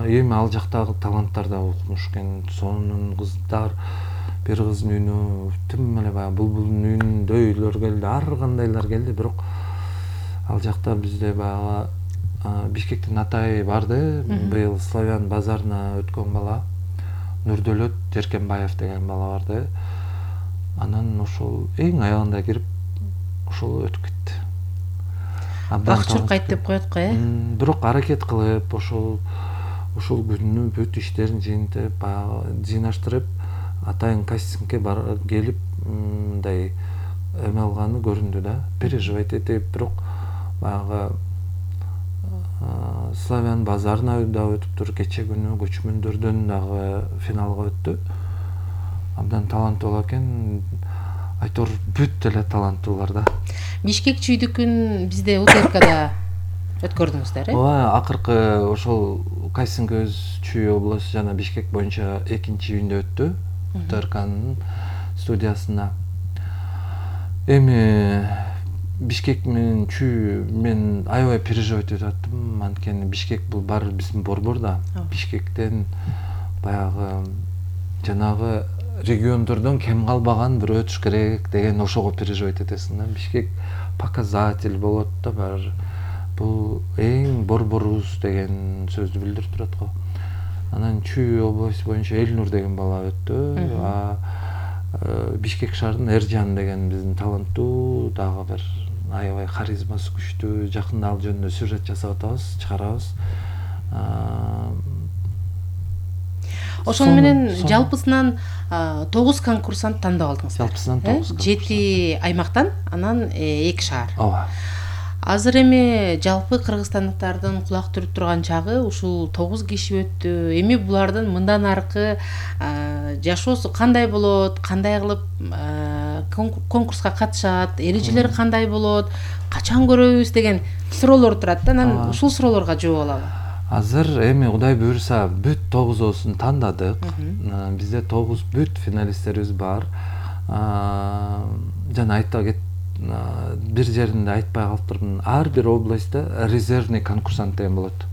Эми ал жактагы таланттар да укмуш экен. Сонун кыздар, бир кыздын үйүнө тим эле баягы булбулдун үйүндөйлөр келди, ар кандайлар келди. Бирок ал жакта бизде баягы Бишкектин Атай барды. Быйыл Славян базарына өткөн бала Нурдөлөт Жеркенбаев деген бала барды. Анан ошол эң аягында кирип ошол өтүп кетти. Бакчуркайт деп коет го, Бирок аракет кылып ошол күнү бүт иштерин жыйынтып, баягы жыйнаштырып, Атайын кастингге келип мындай эме алганы көрүндү да. Переживать этип, бирок баягы Славян базарына да өтүптүр. Кече күнү көчмөндөрдөн дагы финалга өттү. Абдан таланттуу экен. Айтор бүт эле таланттуулар да. Бишкек чүйдүкүн бизде УТРКда өткөрдүңүздөр, Ооба, акыркы ошол кастинг өз Чүй обласу жана Бишкек боюнча экинчи июнда өттү. УТРКнын студиясында. Эми Бишкек менен Чүй мен аябай переживать этип аттым. Анткени Бишкек бул баары биздин борбор да. Бишкектен баягы жанагы региондордон кем калбаган бир өтүш керек деген ошого переживать этесиң да. Бишкек показатель болот да баары. Бул эң борборубуз деген сөздү билдирип турат го. Анан Чүй областы боюнча Элнур деген бала өттү. Бишкек шаарынын Эржан деген биздин таланттуу дагы бир аябай харизмасы күчтүү. Жакында ал жөнүндө сюжет жасап атабыз, чыгарабыз. Ошону менен жалпысынан 9 конкурсант тандап алдыңыз. Жалпысынан 9. 7 аймактан, анан 2 шаар. Ооба. Азыр эми жалпы кыргызстандыктардын кулак түрүп турган чагы ушул 9 киши өттү. Эми булардын мындан аркы жашоосу кандай болот, кандай кылып конкурска катышат, эрежелери кандай болот, качан көрөбүз деген суроолор турат да. Анан ушул суроолорго жооп алалы. Азыр эми Кудай буюрса бүт 9оосун тандадык. Бизде 9 бүт финалисттерибиз бар. Жана айта кет бир жеринде айтпай калыптырмын. Ар бир областта резервный конкурсант деген болот.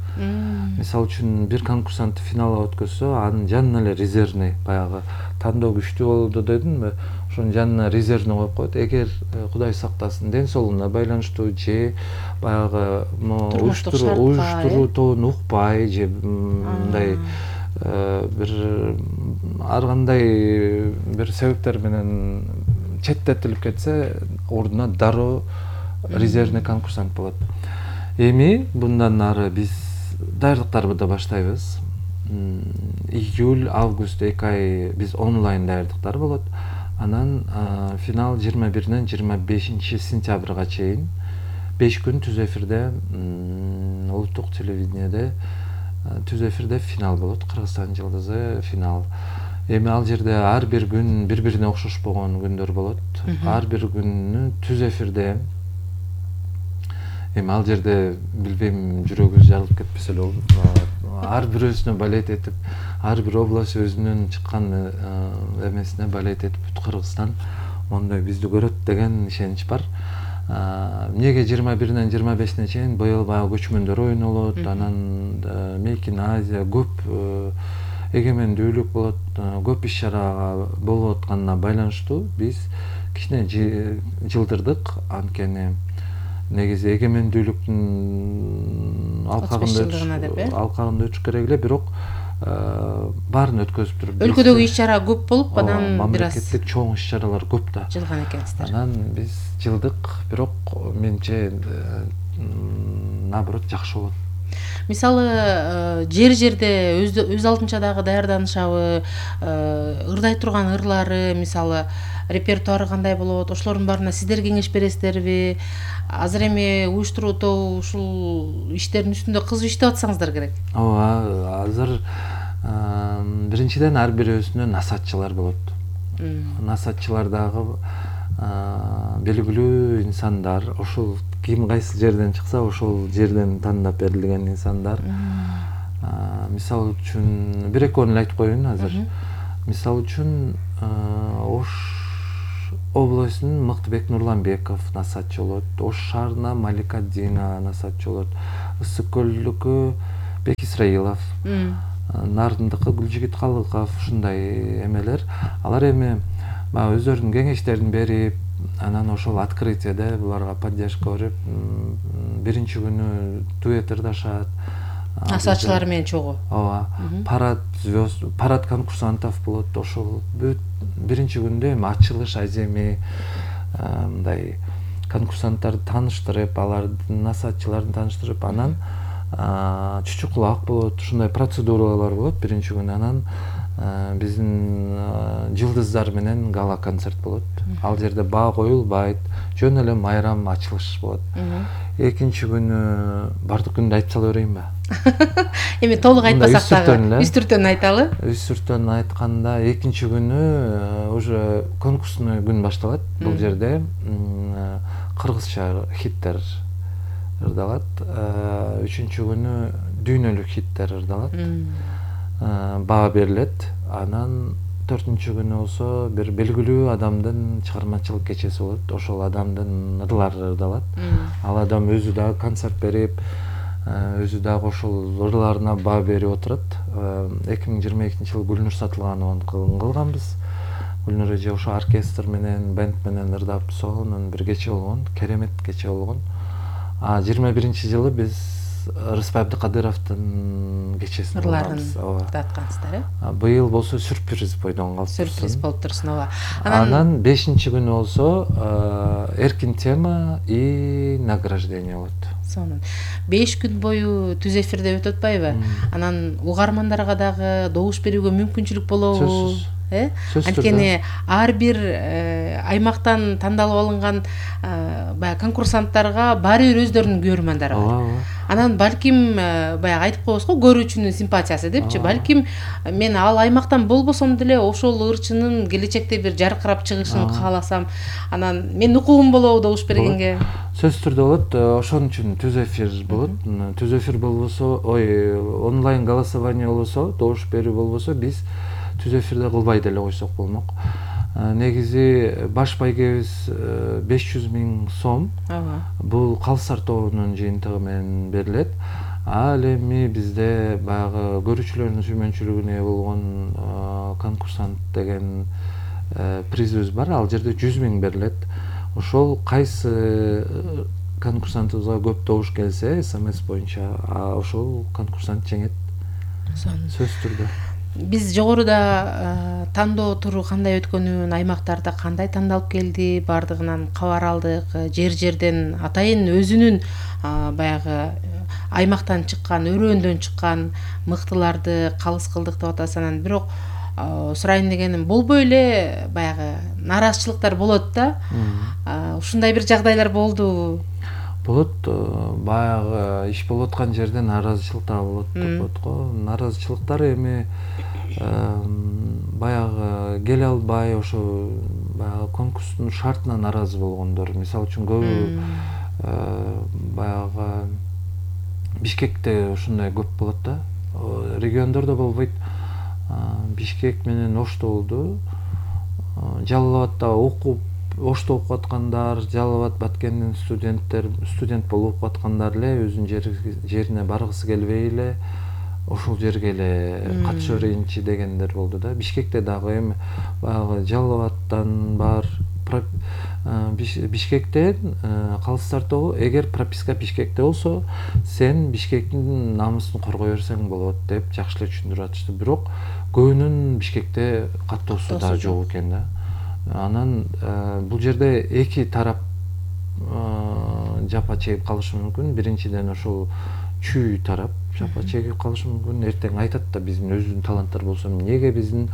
Мисалы үчүн бир конкурсант финалга өткөзсө, анын жанына эле резервный баягы тандоо күчтүү болду дедимби? Ошонун жанына резервный коюп коет. Эгер Кудай сактасын, ден соолугуна байланыштуу же баягы уюштуруутон укпай же мындай бир ар кандай бир себептер менен четтетилип кетсе, ордуна дароо резервный конкурсант болот. Эми мындан ары биз даярдыктарды да баштайбыз. Июль, август 2 ай биз онлайн даярдыктар болот. Анан финал 21-ден 25 сентябрга чейин 5 күн түз эфирде улуттук телевидениеде түз эфирде финал болот. Кыргызстан жылдызы финал. Эми ал жерде ар бир күн бири-бирине окшошпогон күндөр болот. Ар бир күнү түз эфирде. Эми ал жерде билбейм, жүрөгүбүз жарылып кетпесе эле болду. Ар бирөөсүнө балет этип, ар бир область өзүнүн чыккан эмесине балет этип, бүт Кыргызстан мондой бизди көрөт деген ишенич бар. Эмнеге 21-ден 25-ине чейин быйыл баягы көчмөндөр оюну болот, анан Make in Asia көп эгемендүүлүк болот, көп иш-чара болуп атканына байланыштуу биз кичине жылдырдык. Анткени негизи эгемендүүлүктүн алкагында өтүш керек эле, бирок баарын өткөзүп туруп өлкөдөгү иш-чара көп болуп, анан бир аз мамлекеттик чоң иш-чаралар көп да. Жылган экенсиздер. Анан биз жылдык, бирок менче наоборот жакшы болот. Мисалы жер-жерде өз алдынча дагы даярданышабы, ырдай турган ырлары, мисалы репертуары кандай болот, ошолордун баарына сиздер кеңеш бересиздерби? Азыр эми уюштуруу ушул иштердин үстүндө кызуу иштеп атсаңыздар керек. Ооба, азыр биринчиден ар бирөөсүнө насаатчылар болот. Насаатчылар дагы белгилүү инсандар, ошол ким кайсы жерден чыкса ошол жерден тандап берилген инсандар. Мисалы үчүн бир экөөнү эле айтып коеюн азыр. Мисалы үчүн Ош областынын Мыктыбек Нурланбеков насаатчы болот. Ош шаарына Малика Дина насаатчы болот. Ысык көлдүкү Бек Исраилов, Нарындыкы Гүлжигит Калыков, ушундай эмелер. Алар эми баягы өздөрүнүн кеңештерин берип, анан ошол открытияда буларга поддержка берип, биринчи күнү дуэт ырдашат. Асаачылар менен чогуу. Ооба. Парад конкурсантов болот. Ошол биринчи күндө эми ачылыш аземи мындай конкурсанттарды тааныштырып, алардын насаатчыларын тааныштырып, анан чүчү кулак болот. Ушундай процедуралар болот биринчи күнү. Анан биздин жылдыздар менен гала концерт болот. Ал жерде баа коюлбайт, жөн эле майрам ачылыш болот. Экинчи күнү бардык күндү айтып сала берейинби? Эми толук айтпасак дагы үстүртөн айталы. Үстүртөн айтканда экинчи күнү уже конкурсный күн башталат. Бул жерде кыргызча хиттер ырдалат. Үчүнчү күнү дүйнөлүк хиттер ырдалат. Баа берилет. Анан 4-чү күнү болсо бир белгилүү адамдын чыгармачылык кечеси болот. Ошол адамдын ырлары ырдалат. Ал адам өзү дагы концерт берип, өзү дагы ошол ырларына баа берип отурат. 2022-жылы Гүлнур Сатылганованы кылганбыз. Гүлнур эже ошо оркестр менен, бенд менен ырдап сонун бир кече болгон, керемет кече болгон. 21-жылы биз Рыспай Абдыкадыровдун кечесин ырларын ырдаткансыздар, э? Быйыл болсо сюрприз бойдон калып турсун. Сюрприз болуп турсун, ооба. Анан 5-чи күнү болсо эркин тема и награждение болот. Сонун. 5 күн бою түз эфирде өтүп атпайбы? Анан угармандарга дагы добуш берүүгө мүмкүнчүлүк болобу? Анткени ар бир аймактан тандалып алынган баягы конкурсанттарга баары бир өздөрүнүн көрөрмандары бар. Анан балким баягы айтып коебуз го, көрүүчүнүн симпатиясы депчи. Балким мен ал аймактан болбосом деле ошол ырчынын келечекте бир жаркырап чыгышын кааласам, анан менин укугум болобу добуш бергенге? Сөзсүз түрдө болот. Ошон үчүн түз эфир болот. Түз эфир болбосо, онлайн голосование болбосо, добуш берүү болбосо, биз түз эфирде кылбай деле койсок болмок. Негизи баш байгебиз 500 000 сом. Бул Калысар тобунун жыйынтыгы менен берилет. Ал эми бизде баягы көрүүчүлөрдүн сүймөнчүлүгүнө ээ болгон конкурсант деген призыбыз бар. Ал жерде 100 000 берилет. Ошол кайсы конкурсантыбызга көп добуш келсе, СМС боюнча ошол конкурсант жеңет. Сөзсүз түрдө. Биз жогоруда тандоо туру кандай өткөнүн, аймактарда кандай тандалып келди, бардыгынан кабар алдык. Жер-жерден атайын өзүнүн баягы аймактан чыккан, өрөөндөн чыккан мыктыларды калыс кылдык деп атасыз. Анан бирок сурайын дегеним, болбой эле баягы нааразычылыктар болот да. Ушундай бир жагдайлар болдубу? Болот, баягы иш болуп аткан жерде нааразычылык да болот деп коет го. Нааразычылыктар эми баягы келе албай, ошо баягы конкурстун шартына нааразы болгондор. Мисалы үчүн көбү баягы Бишкекте ушундай көп болот да. Региондордо болбойт. Бишкек менен Ошто болду. Жалал Абадда Ошто окуп аткандар, Жалал Абад Баткендин студент болуп окуп аткандар эле өзүнүн жерине баргысы келбей эле ошол жерге эле катыша берейинчи дегендер болду да. Бишкекте дагы эми баягы Жалал Абадтан бар, Бишкектен Калыстар тобу, эгер прописка Бишкекте болсо, сен Бишкектин намысын коргой берсең болот деп жакшы эле түшүндүрүп атышты. Бирок көбүнүн Бишкекте каттоосу да жок экен да. Анан бул жерде эки тарап жапа чегип калышы мүмкүн. Биринчиден ошол чүй тарап жапа чегип калышы мүмкүн. Эртең айтат да, биздин өзүнүн таланттар болсо, эмнеге биздин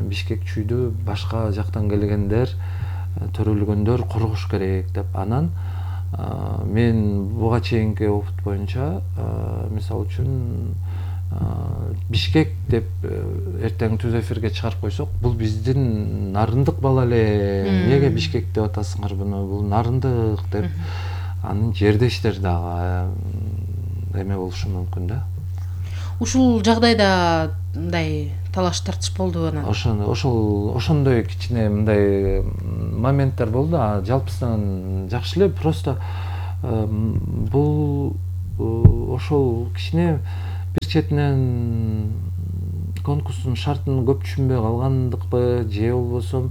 Бишкек чүйдү башка жактан келгендер, төрөлгөндөр коргош керек деп. Анан мен буга чейинки опыт боюнча, мисалы үчүн Бишкек деп эртең түз эфирге чыгарып койсок, бул биздин Нарындык бала эле, эмнеге Бишкек деп атасыңар буну, бул Нарындык деп анын жердештер дагы эме болушу мүмкүн да. Ушул жагдайда мындай талаш тартыш болду анан. Ошондой кичине мындай моменттер болду. Жалпысынан жакшы эле, просто бул ошол кичине бир четинен конкурстун шартын көп түшүнбөй калгандыкпы же болбосо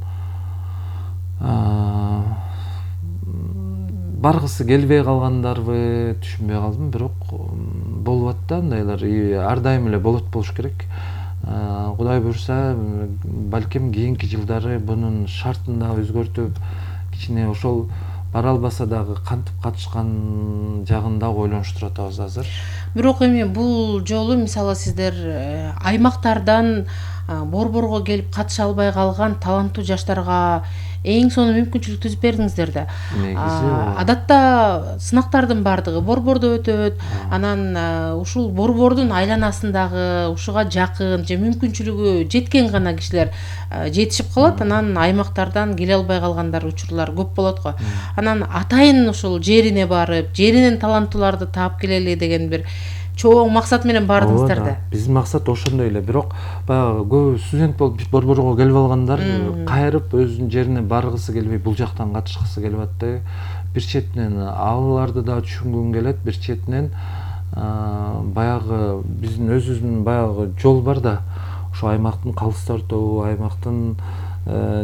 баргысы келбей калгандарбы түшүнбөй калдым. Бирок болуп атты андайлар, ар дайым эле болуш керек. Кудай буйрса балким кийинки жылдары бунун шартын да өзгөртүп, кичине ошол бара албаса дагы кантип катышкан жагын да ойлонуштуруп атабыз азыр. Бирок эми бул жолу мисалы сиздер аймактардан борборго келип катыша албай калган таланттуу жаштарга эң сонун мүмкүнчүлүк түзүп бердиңиздер да. Адатта сынактардын баардыгы борбордо өтөт, анан ушул борбордун айланасындагы ушуга жакын же мүмкүнчүлүгү жеткен гана кишилер жетишип калат, анан аймактардан келе албай калгандар учурлар көп болот го. Анан атайын ушул жерине барып, жеринен таланттууларды таап келели деген бир чоң максат менен бардыңыздар да. Биздин максат ошондой эле. Бирок баягы көп студент болуп борборго келип алгандар кайрып өзүнүн жерине баргысы келбей, бул жактан катышкысы келип атты. Бир четинен аларды да түшүнгүм келет, бир четинен баягы биздин өзүбүздүн баягы жол бар да. Ошо аймактын калыстар тобу, аймактын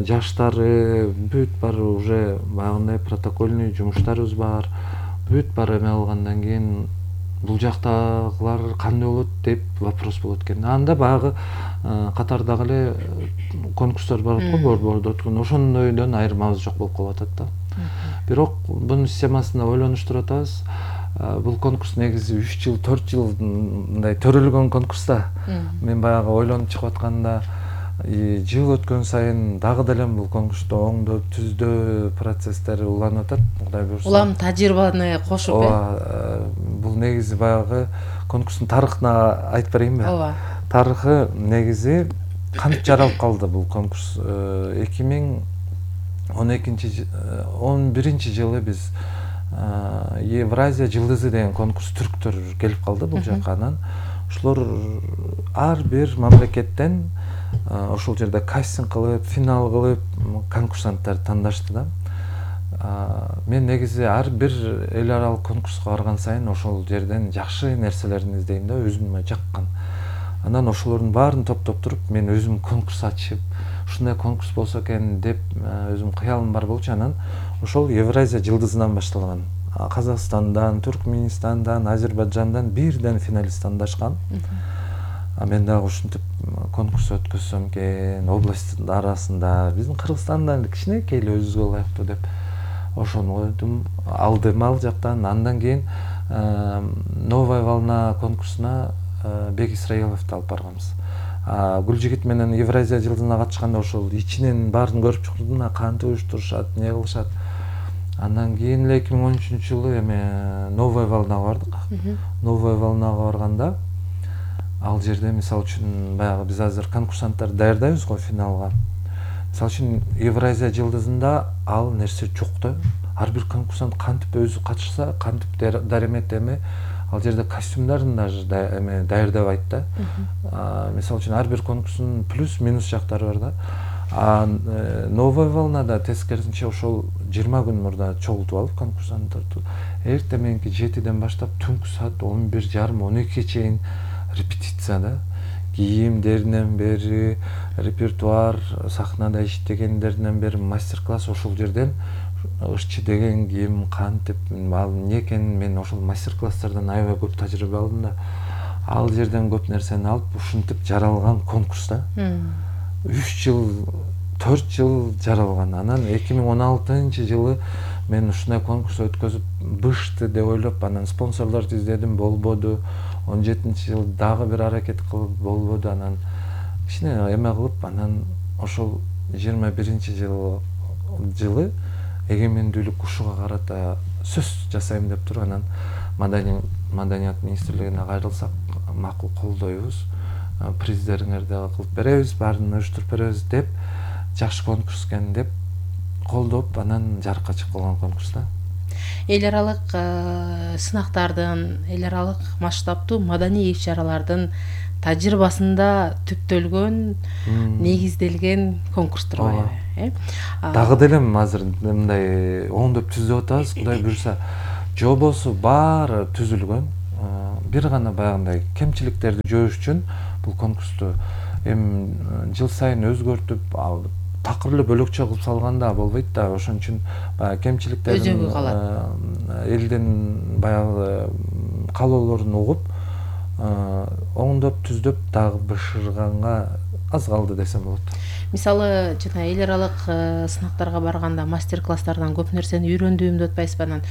жаштары бүт бар, уже баягындай протокольный жумуштарыбыз бар. Бүт бар эме алгандан кийин бул жактагылар кандай болот деп вопрос болот экен. Анда баягы катардагы эле конкурстар бар го, борбордо өткөн. Ошондойдон айырмабыз жок болуп калып атат да. Бирок бунун системасында ойлонуштуруп атабыз. Бул конкурс негизи 3 жыл, 4 жыл мындай төрөлгөн конкурс да. Мен баягы ойлонуп чыгып атканда жыл өткөн сайын дагы деле бул конкурсту оңдоп, түздөө процесстер уланып атат. Кудай буйрса. Улам тажрыйбаны кошуп, бул негизи баягы конкурстун тарыхына айтып берейинби? Ооба. Тарыхы негизи кантип жаралып калды бул конкурс? 2011 жылы биз Евразия жылдызы деген конкурс түрктөр келип калды бул жакка. Анан ошолор ар бир мамлекеттен ошол жерде кастинг кылып, финал кылып конкурсанттарды тандашты да. Мен негизи ар бир эл аралык конкурска барган сайын ошол жерден жакшы нерселерин издейм да, өзүмө жаккан. Анан ошолордун баарын топтоп туруп, мен өзүм конкурс ачып, ушундай конкурс болсо экен деп өзүм кыялым бар болчу. Анан ошол Евразия жылдызынан башталган. Казакстандан, Түркменистандан, Азербайджандан бирден финалист тандашкан. Мен дагы ушинтип конкурс өткөзсөм экен, областтын арасында, биздин Кыргызстандан кичинекей эле өзүбүзгө ылайыктуу деп ошону койдум, алдым ал жактан. Андан кийин Новая волна конкурсуна Бек Исраиловду алып барганбыз. Гүлжигит менен Евразия жылдызына катышканда ошол ичинен баарын көрүп чыктым, кантип уюштурушат, эмне кылышат. Андан кийин эле 2013 жылы эме Новая волнага бардык. Новая волнага барганда ал жерде мисалы үчүн баягы биз азыр конкурсанттарды даярдайбыз го финалга. Мисалы үчүн Евразия жылдызында ал нерсе жок да. Ар бир конкурсант кантип өзү катышса, кантип даремет эме ал жерде костюмдарын даже эме даярдабайт да. Мисалы үчүн ар бир конкурстун плюс минус жактары бар да. Новая волнада тескерисинче ошол 20 күн мурда чогултуп алып конкурсанттарды эртең мененки 7ден баштап түнкү саат 11:30-12 чейин репетиция да. Кийимдеринен бери, репертуар, сахнада иштегендеринен бери мастер-класс. Ошол жерден ышчы деген ким, кантип, ал эмне экенин мен ошол мастер-класстардан аябай көп тажрыйба алдым да. Ал жерден көп нерсени алып, ушинтип жаралган конкурс да. 3 жыл, 4 жыл жаралган. Анан 2016 жылы мен ушундай конкурс өткөзүп бышты деп ойлоп, анан спонсорлорду издедим, болбоду. 17 жыл дагы бир аракет кылып болбоду. Анан кичине эме кылып, анан ошол 21 жылы эгемендүүлүк ушуга карата сөз жасайм деп туруп, анан Маданият министрлигине кайрылсак, макул колдойбуз, приздериңерди кылып беребиз, баарын уюштуруп беребиз деп, жакшы конкурс экен деп колдоп, анан жарыкка чыгып калган конкурс да. Эл аралык сынактардын, эл аралык масштабтуу маданий иш-чаралардын тажрыйбасында түптөлгөн, негизделген конкурстур байы. Дагы деле азыр мындай оңдоп түзүп атабыз, Кудай буйрса. Жобосу баары түзүлгөн. бир гана баягындай кемчиликтерди жоош үчүн бул конкурсту эми жыл сайын өзгөртүп такыр эле бөлөкчө кылып салганда болбойт да. Ошон үчүн баягы кемчиликтердин өзөгү калат. Элдин баягы каалоолорун угуп, оңдоп, түздөп дагы бышырганга аз калды десем болот. Мисалы, жана эл аралык сынактарга барганда мастер-класстардан көп нерсени үйрөндүм деп атпайсызбы анан?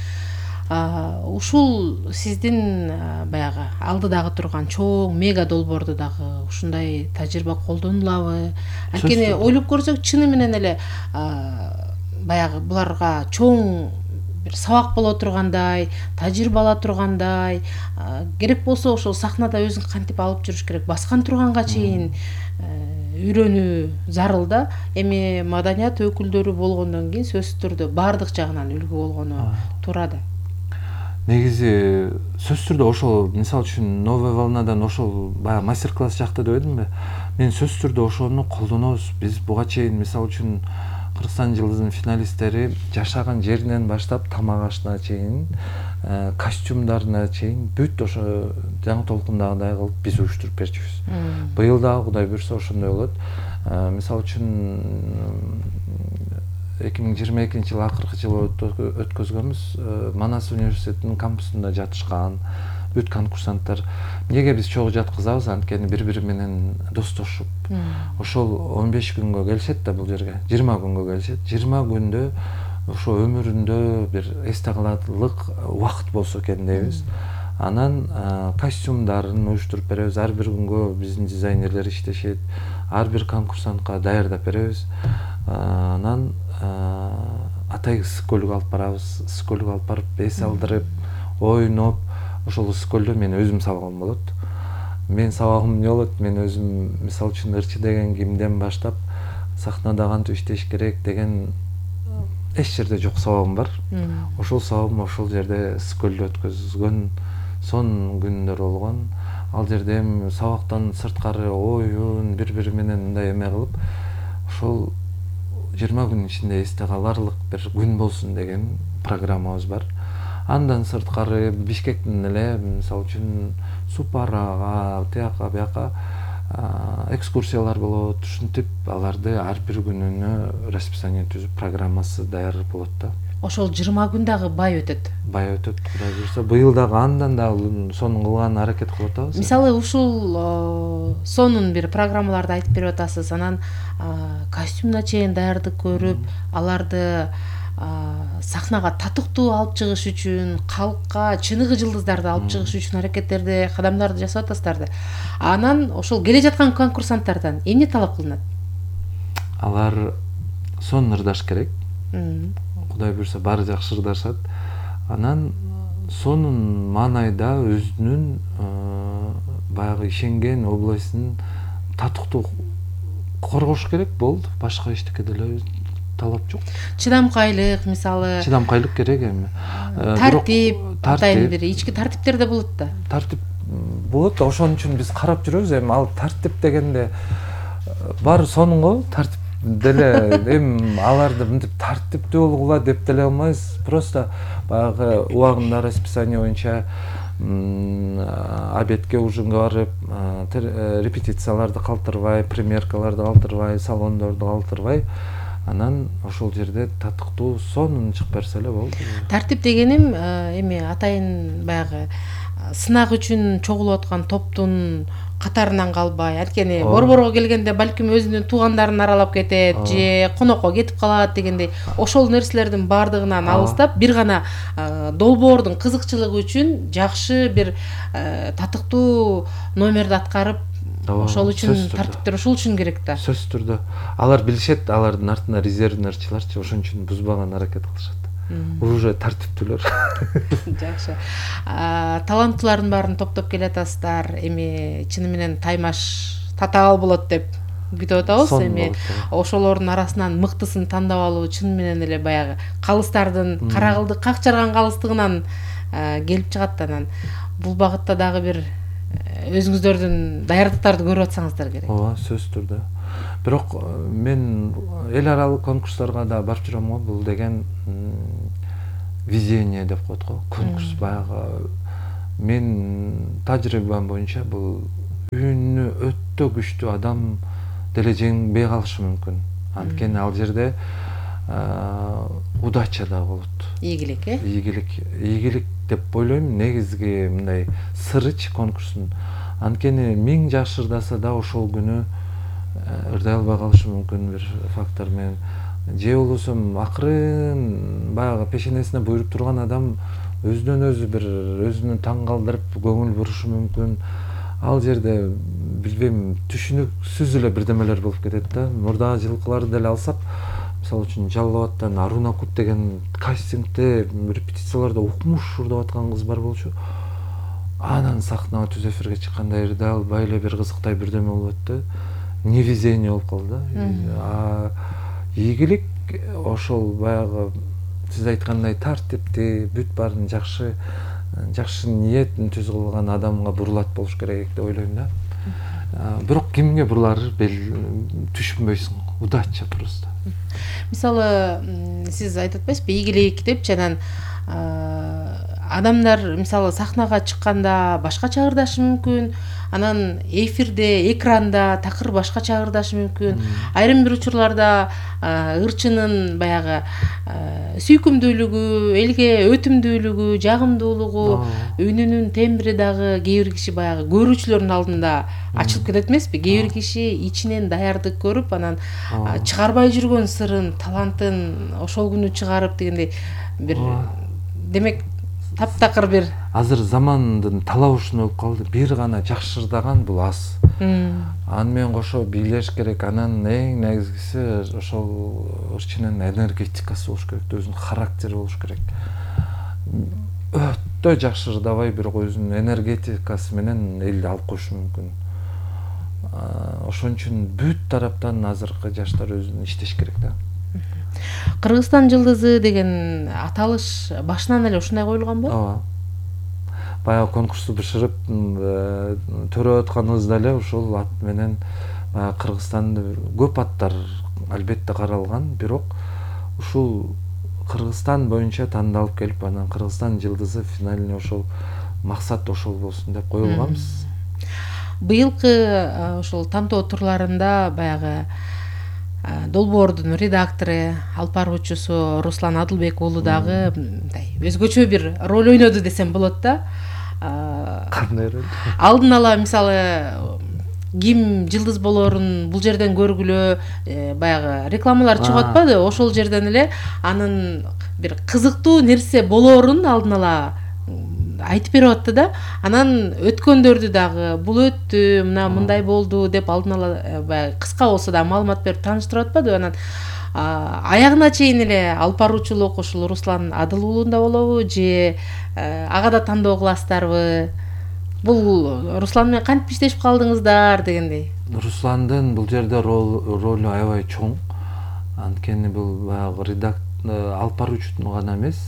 Ушул сиздин баягы алдыдагы турган чоң мега долбоордо дагы ушундай тажрыйба колдонулабы? Анткени ойлоп көрсөк, чыны менен эле баягы буларга чоң бир сабак боло тургандай, тажрыйба ала тургандай, керек болсо ошол сахнада өзүң кантип алып жүрүш керек, баскан турганга чейин үйрөнүү зарыл да. Эми маданият өкүлдөрү болгондон кийин сөзсүз түрдө баардык жагынан үлгү болгону туура да. Негизи сөзсүз түрдө ошол, мисалы үчүн новая волнадан ошол баягы мастер-класс жакта деп эдимби? Мен сөзсүз түрдө ошону колдонобуз. Биз буга чейин мисалы үчүн Кыргызстан жылдызынын финалисттери жашаган жеринен баштап тамак ашына чейин, костюмдарына чейин бүт ошо жаңы толкундагыдай кылып биз уюштуруп берчүбүз. Быйыл дагы Кудай буйрса ошондой болот. Мисалы үчүн 2022 жылы акыркы жылы өткөзгөнбүз. Манас университетинин кампусунда жатышкан бүт конкурсанттар эмнеге биз чогуу жаткызабыз, анткени бири-бири менен достошуп. Ошол 15 күнгө келишет да бул жерге. 20 күнгө келишет. 20 күндө ошо өмүрүндө бир эсте каларлык убакыт болсо экен дейбиз. Анан костюмдарын уюштуруп беребиз. Ар бир күнгө биздин дизайнерлер иштешет. Ар бир конкурсантка даярдап беребиз. Анан атай ысык көлгө алып барабыз. Ысык көлгө алып барып эс алдырып, ойноп, ошол ысык көлдө мен өзүм сабагым болот. Мен сабагым эмне болот? Мен өзүм мисалы үчүн ырчы деген кимден баштап сахнада кантип иштеш керек деген эч жерде жок сабагым бар. Ошол сабагым ошол жерде ысык көлдө өткөзгөн сонун күндөр болгон. Ал жерде эми сабактан сырткары оюн, бири-бири менен мындай эме кылып, ошол 20 күн ичинде эсте каларлык бир күн болсун деген программабыз бар. Андан сырткары Бишкектин эле мисалы үчүн Супарага, тияка бияка экскурсиялар болот. Ушинтип аларды ар бир күнүнө расписание түзүп, программасы даяр болот да. Ошол 20 күн дагы бай өтөт. Бай өтөт, Кудай буйрса. Быйыл дагы андан дагы сонун кылганга аракет кылып атабыз. Мисалы, ушул сонун бир программаларды айтып берип атасыз. Анан костюмуна чейин даярдык көрүп, аларды сахнага татыктуу алып чыгыш үчүн, калкка чыныгы жылдыздарды алып чыгыш үчүн аракеттерди, кадамдарды жасап атасыздар да. Анан ошол келе жаткан конкурсанттардан эмне талап кылынат? Алар сонун ырдаш керек. Кудай буйрса баары жакшы ырдашат. Анан сонун маанайда өзүнүн баягы ишенген областын татыктуу коргош керек болду. Башка эчтеке деле талап жок. Чыдамкайлык, мисалы. Чыдамкайлык керек эми. Тартип, атайын бир ички тартиптер да болот да. Тартип болот, ошон үчүн биз карап жүрөбүз. Эми ал тартип дегенде баары сонун го, тартип деле эми аларды мынтип тартиптүү болгула деп деле албайбыз. Просто баягы убагында расписание боюнча обедке, ужинге барып, репетицияларды калтырбай, примеркаларды калтырбай, салондорду калтырбай, анан ошол жерде татыктуу сонун чыгып берсе эле болду. Тартип дегеним эми атайын баягы сынак үчүн чогулуп аткан топтун катарынан калбай, анткени борборго келгенде балким өзүнүн туугандарын аралап кетет же конокко кетип калат дегендей, ошол нерселердин баардыгынан алыстап, бир гана долбоордун кызыкчылыгы үчүн жакшы бир татыктуу номерди аткарып, ошол үчүн тартиптер ошол үчүн керек да. Сөзсүз түрдө алар билишет, алардын артында резервный ырчыларчы, ошон үчүн бузбаган аракет кылышат. Уже тартиптүүлөр. Жакшы. Таланттуулардын баарын топтоп келатасыздар. Эми чыны менен таймаш татаал болот деп күтүп атабыз. Эми ошолордун арасынан мыктысын тандап алуу чын менен эле баягы калыстардын каракылдык как жарган калыстыгынан келип чыгат. Анан бул багытта дагы бир өзүңүздөрдүн даярдыктарды көрүп атсаңыздар керек. Ооба, сөзсүз түрдө. Бирок мен эл аралык конкурстарга да барып жүрөм го. Бул деген везение деп коет го. Конкурс баягы мен тажрыйбам боюнча бул үнү өтө күчтүү адам деле жеңбей калышы мүмкүн. Анткени ал жерде удача да болот. Ийгилик, Ийгилик деп ойлойм. Негизги мындай сырыч конкурстун. Анткени 1000 жакшы ырдаса да ошол күнү ырдай албай калышы мүмкүн бир фактор менен. Же болбосо акырын баягы пешенесине буйруп турган адам өзүнөн өзү бир өзүнү таң калтырып көңүл бурушу мүмкүн. Ал жерде билбейм, түшүнүксүз эле бирдемелер болуп кетет да. Мурдагы жылкыларды деле алсак, мисалы үчүн Жалал Абадтан Аруна Кут деген кастингде репетицияларда укмуш ырдап аткан кыз бар болчу. Анан сахнага түз эфирге чыкканда ырдай албай эле бир кызыктай бирдеме болуп өттү. Невезение болуп калды. Ийгилик ошол баягы сиз айткандай тартиптүү, бүт баарын жакшы ниетин түз кылган адамга бурулат болуш керек деп ойлойм да. Бирок кимге бурулары түшүнбөйсүң. Удача просто. Мисалы, сиз айтып атпайсызбы, ийгилик депчи, анан адамдар мисалы сахнага чыкканда башкача ырдашы мүмкүн, анан эфирде, экранда такыр башкача ырдашы мүмкүн. Айрым бир учурларда ырчынын баягы сүйкүмдүүлүгү, элге өтүмдүүлүгү, жагымдуулугу, үнүнүн тембри дагы кээ бир киши баягы көрүүчүлөрдүн алдында ачылып кетет эмеспи? Кээ бир киши ичинен даярдык көрүп, анан чыгарбай жүргөн сырын, талантын ошол күнү чыгарып дегендей бир, демек таптакыр бир азыр замандын талабы ушундай болуп калды. Бир гана жакшы ырдаган бул аз. Аны менен кошо бийлеш керек. Анан эң негизгиси ошол ырчынын энергетикасы болуш керек, өзүнүн характери болуш керек. Өтө жакшы ырдабай, бирок өзүнүн энергетикасы менен элди алып коюшу мүмкүн. Ошон үчүн бүт тараптан азыркы жаштар өзүн иштеш керек да. Кыргызстан жылдызы деген аталыш башынан эле ушундай коюлганбы? Ооба. Баягы конкурсту бышырып төрөп атканыбызда эле ушул ат менен Кыргызстанды көп аттар албетте каралган, бирок ушул Кыргызстан боюнча тандалып келип, анан Кыргызстан жылдызы финалине ошол максат ошол болсун деп коюлганбыз. Быйылкы ошол тантоо турларында баягы долбоордун редактору, алып баруучусу Руслан Адылбек уулу дагы мындай өзгөчө бир роль ойноду десем болот да. Кандай роль? Алдын ала мисалы ким жылдыз болоорун бул жерден көргүлө баягы рекламалар чыгып атпады? Ошол жерден эле анын бир кызыктуу нерсе болоорун алдын ала айтып берип атты да. Анан өткөндөрдү дагы бул өттү, мындай болду деп алдын ала баягы кыска болсо да маалымат берип тааныштырып атпады. Анан аягына чейин эле алып баруучулук ушул Руслан Адыл уулунда болобу же ага да тандоо кыласыздарбы? Бул Руслан менен кантип иштешип калдыңыздар дегендей. Русландын бул жерде ролу аябай чоң. Анткени бул баягы алып баруучунун гана эмес.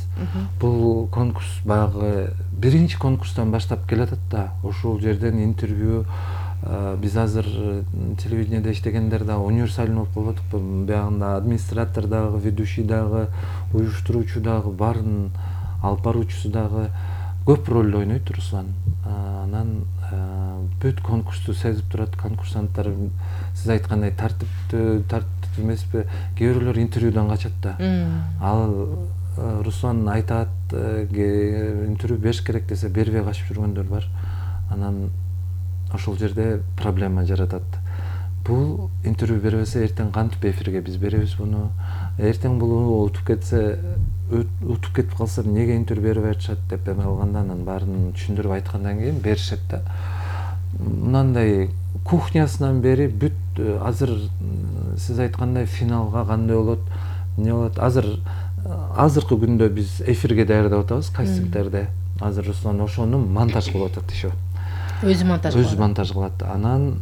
Бул конкурс баягы биринчи конкурстан баштап келатат да. Ошол жерден интервью биз азыр телевидениеде иштегендер да универсален болуп калбадыкпы? Биягында администратор дагы, ведущий дагы, уюштуруучу дагы, баарын алып баруучусу дагы көп роль ойнойт Руслан. Анан бүт конкурсту сезип турат. Конкурсанттар сиз айткандай тартиптүү эмеспи? Кээ бирлөр интервьюдан качат да. Ал Руслан айтат, интервью бериш керек десе бербей качып жүргөндөр бар. Анан ошол жерде проблема жаратат. Бул интервью бербесе эртең кантип эфирге биз беребиз буну? Эртең бул утуп кетип калса эмнеге интервью бербей атышат деп эме кылганда, анан баарын түшүндүрүп айткандан кийин беришет да. Мындай кухнясынан бери бүт азыр сиз айткандай финалга кандай болот, эмне болот? Азыркы күндө биз эфирге даярдап атабыз, кастингдерде. Азыр Руслан ошону монтаж кылып атат еще. Өзү монтаж кылат. Анан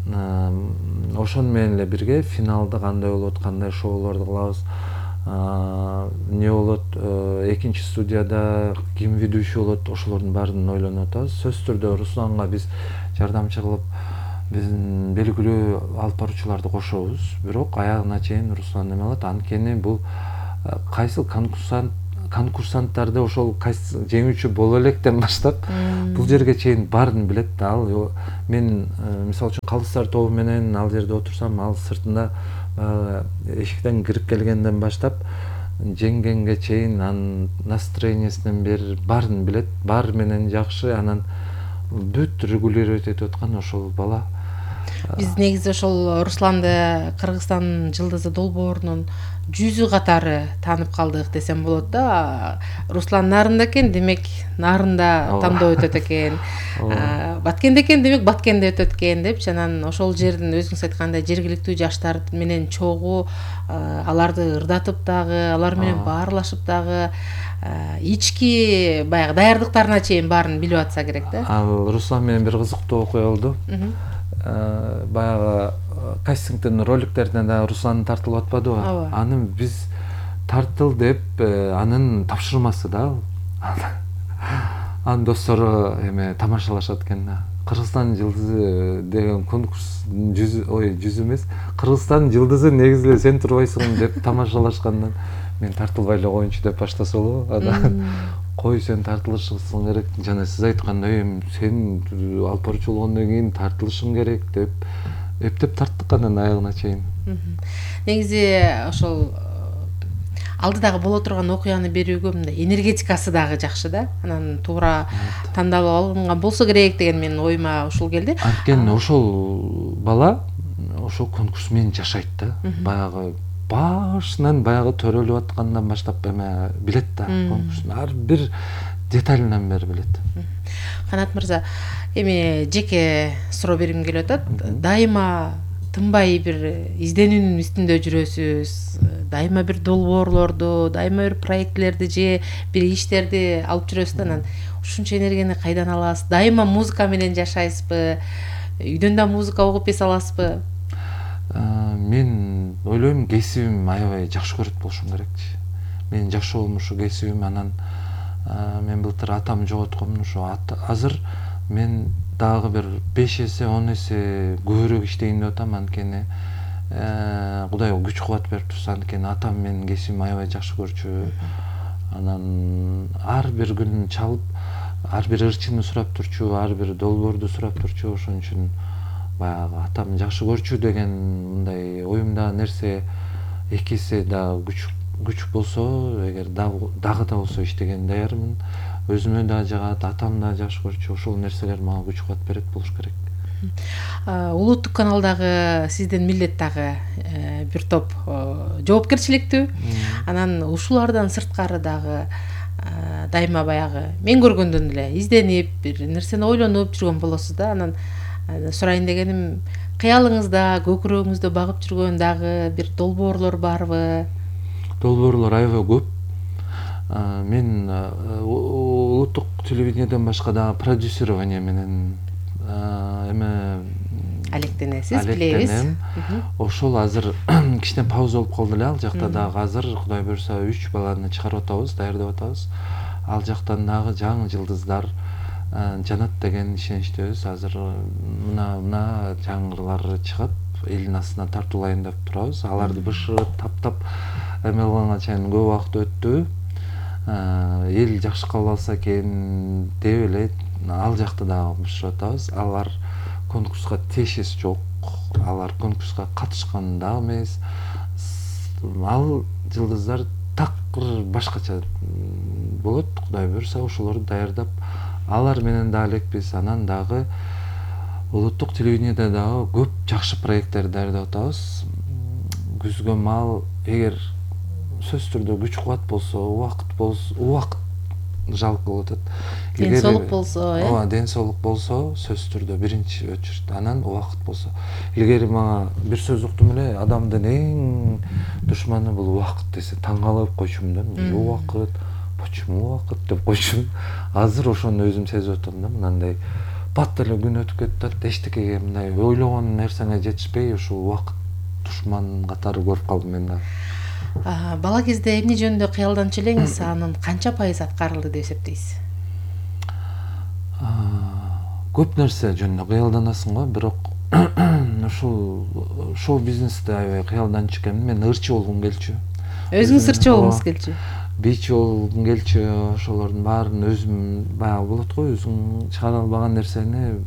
ошону менен эле бирге финалда кандай болот, кандай шоуларды кылабыз, эмне болот, экинчи студияда ким ведущий болот, ошолордун баарын ойлонуп атабыз. Сөзсүз түрдө Русланга биз жардамчы кылып, биздин белгилүү алып баруучуларды кошобуз. Бирок аягына чейин Руслан эме кылат. Анткени бул кайсыл конкурсант конкурсанттарды ошол жеңүүчү боло электен баштап бул жерге чейин баарын билет да. Ал мен мисалы үчүн Калдыстар тобу менен ал жерде отурсам, ал сыртында эшиктен кирип келгенден баштап жеңгенге чейин анын настроениясынан бери баарын билет, баары менен жакшы, анан бүт регулировать этип аткан ошол бала. Биз негизи ошол Русланды Кыргызстан жылдызы долбоорунун жүзү катары таанып калдык десем болот да. Руслан нарында экен, демек нарында тандоо өтөт экен. Баткенде экен, демек Баткенде өтөт экен депчи. Анан ошол жердин өзүңүз айткандай жергиликтүү жаштар менен чогуу, аларды ырдатып дагы, алар менен баарлашып дагы, ички баягы даярдыктарына чейин баарын билип атса керек да. Ал Руслан менен бир кызыктуу окуя болду. Баягы кастингдин роликтерине да Руслан тартылып атпадыбы? Анын биз тартыл деп анын тапшырмасы да. Анын достору тамашалашат экен да. Кыргызстан жылдызы деген конкурс жүз эмес, Кыргызстан жылдызы негизи эле сен турбайсың деп тамашалашкандан мен тартылбай эле коеюнчу деп баштаса болобу? Анан кой, сен тартылышың керек, жана сиз айткандай сен алып баруучу болгондон кийин тартылышың керек деп эптеп тарттык анан аягына чейин. Негизи ошол алдыдагы боло турган окуяны берүүгө мындай энергетикасы дагы жакшы да. Анан туура тандалып алынган болсо керек деген менин оюма ушул келди. Анткени ошол бала ошол конкурс менен жашайт да. Баягы башынан баягы төрөлүп аткандан баштап билет да, конкурстун ар бир деталынан бери билет. Канат мырза, эми жеке суроо бергим келип атат. Дайыма тынбай бир изденүүнүн үстүндө жүрөсүз, дайыма бир долбоорлорду, дайыма бир проектлерди же бир иштерди алып жүрөсүз да. Анан ушунча энергияны кайдан аласыз? Дайыма музыка менен жашайсызбы? Үйдөн да музыка угуп эс аласызбы? Мен ойлойм, кесибим аябай жакшы көрөт болушум керекчи. Менин жакшы болгон ушу кесибим. Анан мен былтыр атам жоготком, ошо азыр мен дагы бир 5 эсе 10 эсе көбүрөөк иштейин деп атам. Анткени Кудай күч кубат берип турса, анткени атам менин кесибим аябай жакшы көрчү. Анан ар бир күн чалып, ар бир ырчыны сурап турчу, ар бир долбоорду сурап турчу. Ошон үчүн баягы атам жакшы көрчү деген мындай оюмда нерсе эки эсе да күч болсо, эгер дагы да болсо иштеген даярмын. Өзүмө да жагат, атам да жакшы көрчү. Ошол нерселер мага күч кубат берет болуш керек. Улуттук каналдагы сиздин милдет дагы бир топ жоопкерчиликтүү. Анан ушулардан сырткары дагы дайыма баягы мен көргөндөн эле изденип, бир нерсени ойлонуп жүргөн болосуз да. Анан сурайын дегеним, кыялыңызда, көкүрөгүңүздө багып жүргөн дагы бир долбоорлор барбы? Долбоорлор аябай көп. Мен улуттук телевидениеден башка дагы продюсирование менен алектенесиз, билебиз. Ошол азыр кичине пауза болуп калды эле. Ал жакта дагы азыр Кудай буюрса 3 баланы чыгарып атабыз, даярдап атабыз. Ал жактан дагы жаңы жылдыздар жанат деген ишеничтебиз. Азыр мына жаңылар чыгып, элдин астына тартуулайын деп турабыз. Аларды бышырып, таптап эме кылганга чейин көп убакыт өттү. Эл жакшы кабыл алса экен деп эле ал жакта дагы бышырып атабыз. Алар конкурска тиешеси жок. Алар конкурска катышкан дагы эмес. Ал жылдыздар такыр башкача болот. Кудай буюрса ошолорду даярдап алар менен да элекпиз. Анан дагы улуттук телевидениеде дагы көп жакшы проекттер даярдап атабыз. Күзгө маал, эгер сөзсүз түрдө күч кубат болсо, убакыт жалпы болуп атат. Ден соолук болсо, ден соолук болсо, сөзсүз түрдө биринчи очередь. Анан убакыт болсо. Илгери мага бир сөз уктум эле, адамдын эң душманы бул убакыт десе, таң калып койчумун да. Убакыт, почему убакыт деп койчумун. Азыр ошону өзүм сезип атам да, мындай бат эле күн өтүп кетип, эчтекеге мындай ойлогон нерсеңе жетишпей, ошол убакыт душман катары көрүп калдым мен да. Бала кезде эмне жөнүндө кыялданчу элеңиз, анын канча пайыз аткарылды деп эсептейсиз? Көп нерсе жөнүндө кыялданасың го, бирок ушул шоу бизнесте аябай кыялданчу экенмин. Мен ырчы болгум келчү. Өзүңүз ырчы болгуңуз келчү? бич болгум келчү, ошолордун баарын өзүм баягы болот го, өзүң чыгара албаган нерсени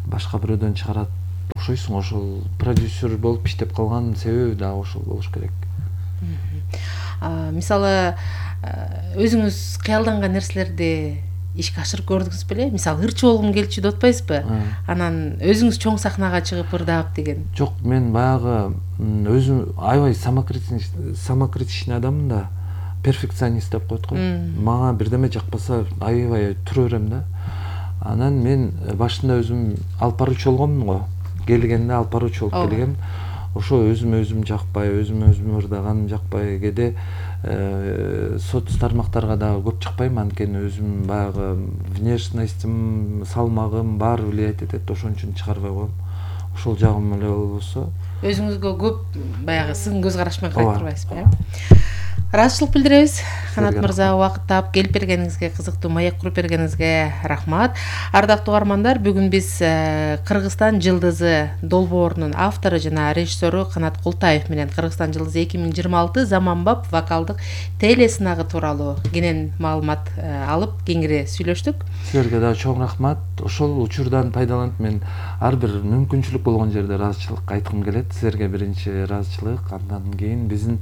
башка бирөөдөн чыгарат окшойсуң. Ошол продюсер болуп иштеп калган себеби дагы ошол болуш керек. Мисалы өзүңүз кыялданган нерселерди ишке ашырып көрдүңүз беле? Мисалы ырчы болгум келчү деп атпайсызбы? Анан өзүңүз чоң сахнага чыгып ырдап деген. Жок, мен баягы өзүм аябай самокритичный адаммын да, перфекционист деп коет го. Мага бирдеме жакпаса аябай тура берем да. Анан мен башында өзүм алып баруучу болгоммун го. Келгенде алып баруучу болуп келгем. Ошо өзүм жакпай, өзүм ырдаганым жакпай, кээде соц тармактарга дагы көп чыкпайм, анткени өзүм баягы внешностьтим, салмагым баары влиять этет, ошон үчүн чыгарбай коем. Ошол жагым эле болбосо. Өзүңүзгө көп баягы сын көз караш менен карай турбайсызбы, э? Ыраазычылык билдиребиз. Канат мырза, убакыт таап келип бергениңизге, кызыктуу маек куруп бергениңизге рахмат. Ардактуу угармандар, бүгүн биз Кыргызстан жылдызы долбоорунун автору жана режиссеру Канат Култаев менен Кыргызстан жылдызы 2026 заманбап вокалдык телесынагы тууралуу кенен маалымат алып, кеңири сүйлөштүк. Силерге да чоң рахмат. Ошол учурдан пайдаланып мен ар бир мүмкүнчүлүк болгон жерде ыраазычылык айткым келет. Силерге биринчи ыраазычылык, андан кийин биздин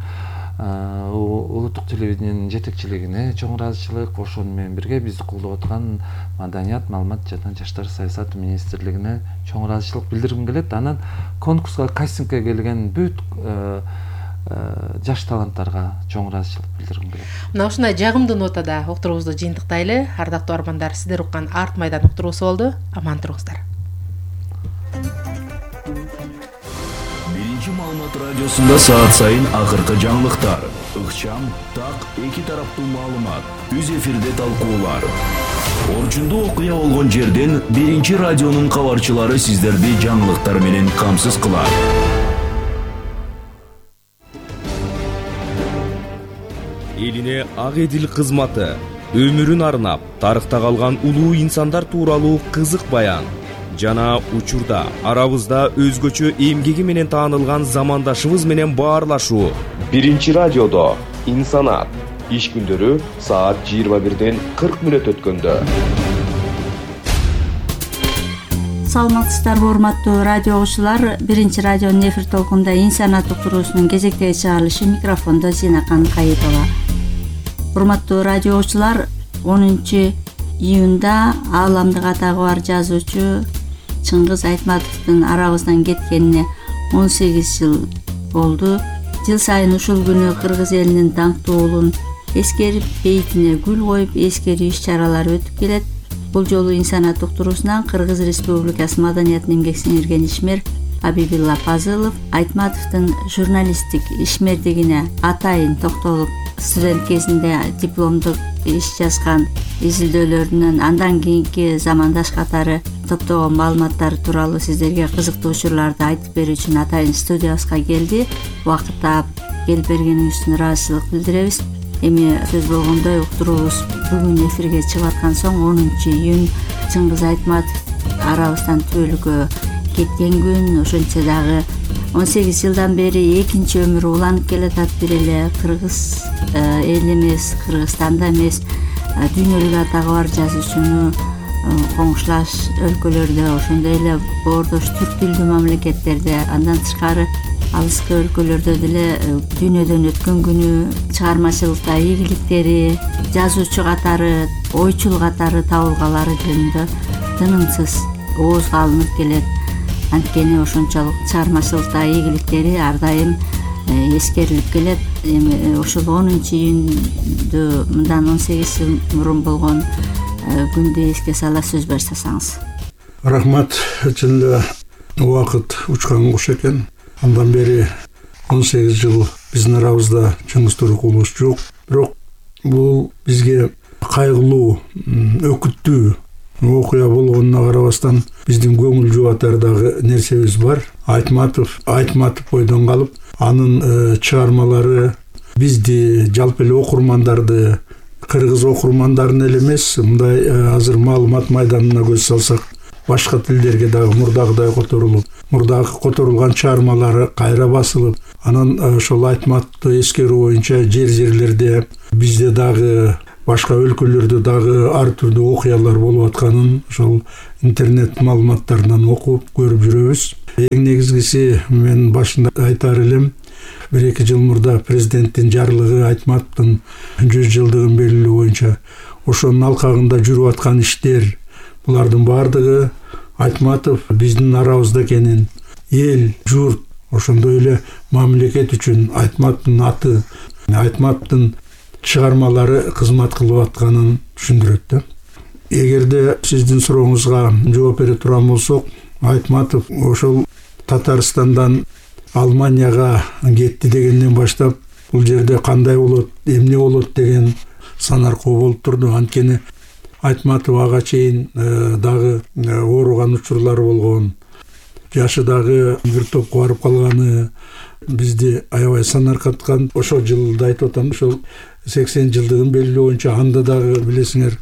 улуттук телевидениянын жетекчилигине чоң ыраазычылык, ошону менен бирге бизди колдоп аткан Маданият, маалымат жана жаштар саясаты министрлигине чоң ыраазычылык билдиргим келет. Анан конкурска, кастингке келген бүт жаш таланттарга чоң ыраазычылык билдиргим келет. Мына ушундай жагымдуу нотада уктуруубузду жыйынтыктайлы. Ардактуу армандар, сиздер уккан Арт майдан уктуруусу болду. Аман туруңуздар. Маалымат радиосунда саат сайын акыркы жаңылыктар, ыкчам, так, эки тараптуу маалымат, түз эфирде талкуулар. Орчундуу окуя болгон жерден биринчи радионун кабарчылары сиздерди жаңылыктар менен камсыз кылат. Элине ак эдил кызматы, өмүрүн арнап, тарыхта калган улуу инсандар тууралуу кызык баян жана учурда арабызда өзгөчө эмгеги менен таанылган замандашыбыз менен баарлашуу. Биринчи радиодо Инсанат иш күндөрү саат 21-ден 40 мүнөт өткөндө. Саламатсыздарбы, урматтуу радио окуучулар. Биринчи радионун эфир толкунда Инсанат уктуруусунун кезектеги чыгарылышы, микрофондо Зинакан Кайытова. Урматтуу радио окуучулар, 10 июнда ааламдык атагы бар жазуучу Чыңгыз Айтматовдун арабыздан кеткенине 18 жыл болду. Жыл сайын ушул күнү кыргыз элинин даңктуу уулун эскерип, бейитине гүл коюп, эскерүү иш-чаралары өтүп келет. Бул жолу Инсанат уктуруусунан Кыргыз Республикасы Маданиятын эмгек сиңирген ишмер Абибилла Пазылов Айтматовдун журналисттик ишмердигине атайын токтолуп, студент кезинде дипломдук иш жазган изилдөөлөрүнөн андан кийинки замандаш катары топтогон маалыматтары тууралуу сиздерге кызыктуу учурларды айтып берүү үчүн атайын студиябызга келди. Убакыт таап келип бергениңиз үчүн ыраазычылык билдиребиз. Эми сөз болгондой уктуруубуз бүгүн эфирге чыгып аткан соң 10 июнь Чыңгыз Айтматов арабыздан түбөлүккө кеткен күн. Ошентсе дагы 18 жылдан бери экинчи өмүрү уланып келатат. Бир эле кыргыз эл эмес, Кыргызстанда эмес, дүйнөлүк атагы бар жазуучуну коңшулаш өлкөлөрдө, ошондой эле боордош түрк тилдүү мамлекеттерде, андан тышкары алыскы өлкөлөрдө деле дүйнөдөн өткөн күнү, чыгармачылыкта ийгиликтери, жазуучу катары, ойчул катары табылгалары жөнүндө тынымсыз оозго алынып келет. Анткени ошончолук чыгармачылыкта ийгиликтери ар дайым эскерилип келет. Эми ушул 10 июндү мындан 18 жыл мурун болгон күндү эске сала сөз баштасаңыз. Рахмат. Чын эле убакыт учкан куш экен. Андан бери 18 жыл биздин арабызда Чыңгыз Турукулович жок. Бирок бул бизге кайгылуу, өкүттүү окуя болгонуна карабастан биздин көңүл жубатар дагы нерсебиз бар. Айтматов бойдон калып, анын чыгармалары бизди, жалпы эле окурмандарды, кыргыз окурмандарын эле эмес, мындай азыр маалымат майданына көз салсак, башка тилдерге дагы мурдагыдай которулган чыгармалары кайра басылып, анан ошол Айтматовду эскерүү боюнча жерлерде бизде дагы башка өлкөлөрдө дагы ар түрдүү окуялар болуп атканын ошол интернет маалыматтарынан окуп көрүп жүрөбүз. Эң негизгиси мен башында айтар элем, 1-2 жыл мурда президенттин жарлыгы Айтматовдун 100 жылдыгын белгилөө боюнча ошонун алкагында жүрүп аткан иштер, булардын баардыгы Айтматов биздин арабызда экенин, эл, журт, ошондой эле мамлекет үчүн Айтматовдун аты, Айтматовдун чыгармалары кызмат кылып атканын түшүндүрөт да. Эгерде сиздин сурооңузга жооп бере турган болсок, Айтматов ошол Татарстандан Алманияга кетти дегенден баштап бул жерде кандай болот, эмне болот деген сан аркоо болуп турду. Анткени Айтматов ага чейин дагы ооруган учурлары болгон, жашы дагы бир топко барып калганы бизди аябай санаркаткан. Ошол жылда айтып атам, ошол 80 жылдыгын белгилөө боюнча анда дагы билесиңер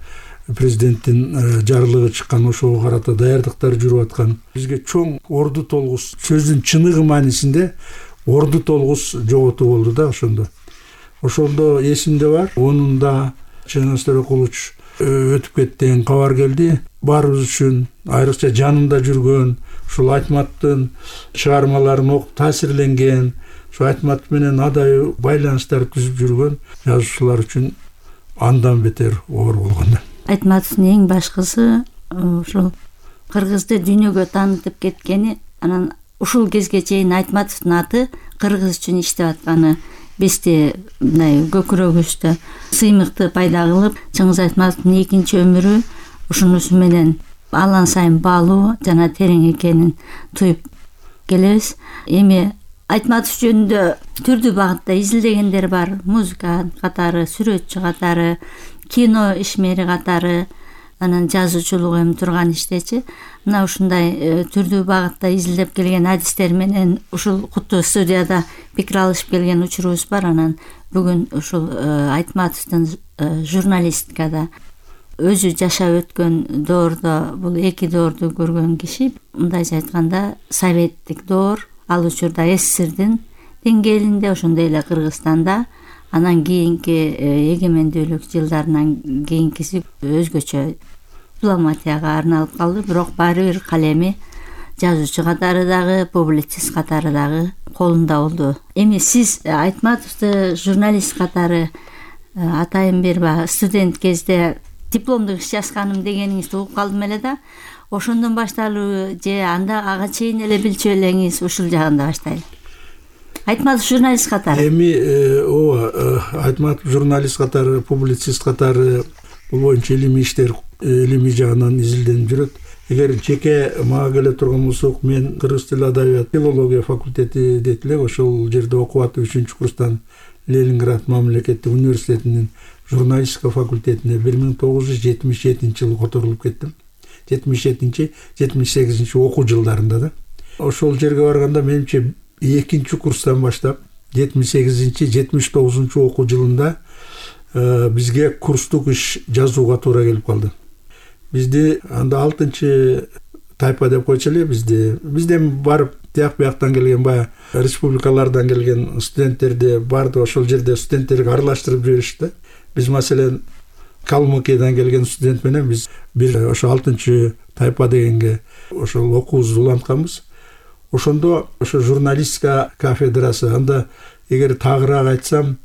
президенттин жарлыгы чыккан, ошого карата даярдыктар жүрүп аткан. Бизге чоң орду толгус, сөздүн чыныгы маанисинде орду толгус жоготуу болду да ошондо. Ошондо эсимде бар, онунда Чыңгыз Төрөкулович өтүп кетти деген кабар келди. Баарыбыз үчүн, айрыкча жанында жүргөн, ушул Айтматовдун чыгармаларын окуп таасирленген, ошо Айтматов менен адай байланыштар түзүп жүргөн жазуучулар үчүн андан бетер оор болгон. Айтматовдун эң башкысы ушул кыргызды дүйнөгө таанытып кеткени, анан ушул кезге чейин Айтматовдун аты кыргыз үчүн иштеп атканы бизде мындай көкүрөгүбүздө сыймыкты пайда кылып, Чыңгыз Айтматовдун экинчи өмүрү ушунусу менен алан сайын баалуу жана терең экенин туюп келебиз. Эми Айтматов жөнүндө түрдүү багытта изилдегендер бар. Музыка катары, сүрөтчү катары, кино ишмери катары, анан жазуучулук эми турган иштечи. Мына ушундай түрдүү багытта изилдеп келген адистер менен ушул куттуу студияда пикир алышып келген учурубуз бар. Анан бүгүн ушул Айтматовдун журналистикада өзү жашап өткөн доордо, бул эки доорду көргөн киши, мындайча айтканда советтик доор, ал учурда СССРдин деңгээлинде, ошондой эле Кыргызстанда, анан кийинки эгемендүүлүк жылдарынан кийинкиси өзгөчө дипломатияга арналып калды. Бирок баары бир калеми жазуучу катары дагы, публицист катары дагы колунда болду. Эми сиз Айтматовду журналист катары атайын берба, студент кезде дипломдук иш жазганым дегениңизди угуп калдым эле да. Ошондон башталбы же анда ага чейин эле билчү элеңиз? Ушул жагында баштайлы. Айтматов журналист катары. Эми Айтматов журналист катары, публицист катары бул боюнча илимий иштер, илимий жагынан изилденип жүрөт. Эгер жеке мага келе турган болсок, мен кыргыз тили адабият филология факультети дейт элек, ошол жерде окуп атып 3-курстан Ленинград мамлекеттик университетинин журналистика факультетине 1977-жылы которулуп кеттим. 77-78 окуу жылдарында да. Ошол жерге барганда менимче 2-курстан баштап 78-79 окуу жылында бизге курстук иш жазууга туура келип калды. Бизди анда 6-тайпа деп койчу эле, бизден барып тияк-бияктан келген, баягы республикалардан келген студенттерди барды ошол жерде студенттерге аралаштырып жиберишти. Биз маселен Калмыкиядан келген студент менен биз бир ошо 6-тайпа дегенге ошол окуубузду улантканбыз. Ошондо ошо журналистика кафедрасы, анда эгер тагыраак айтсам,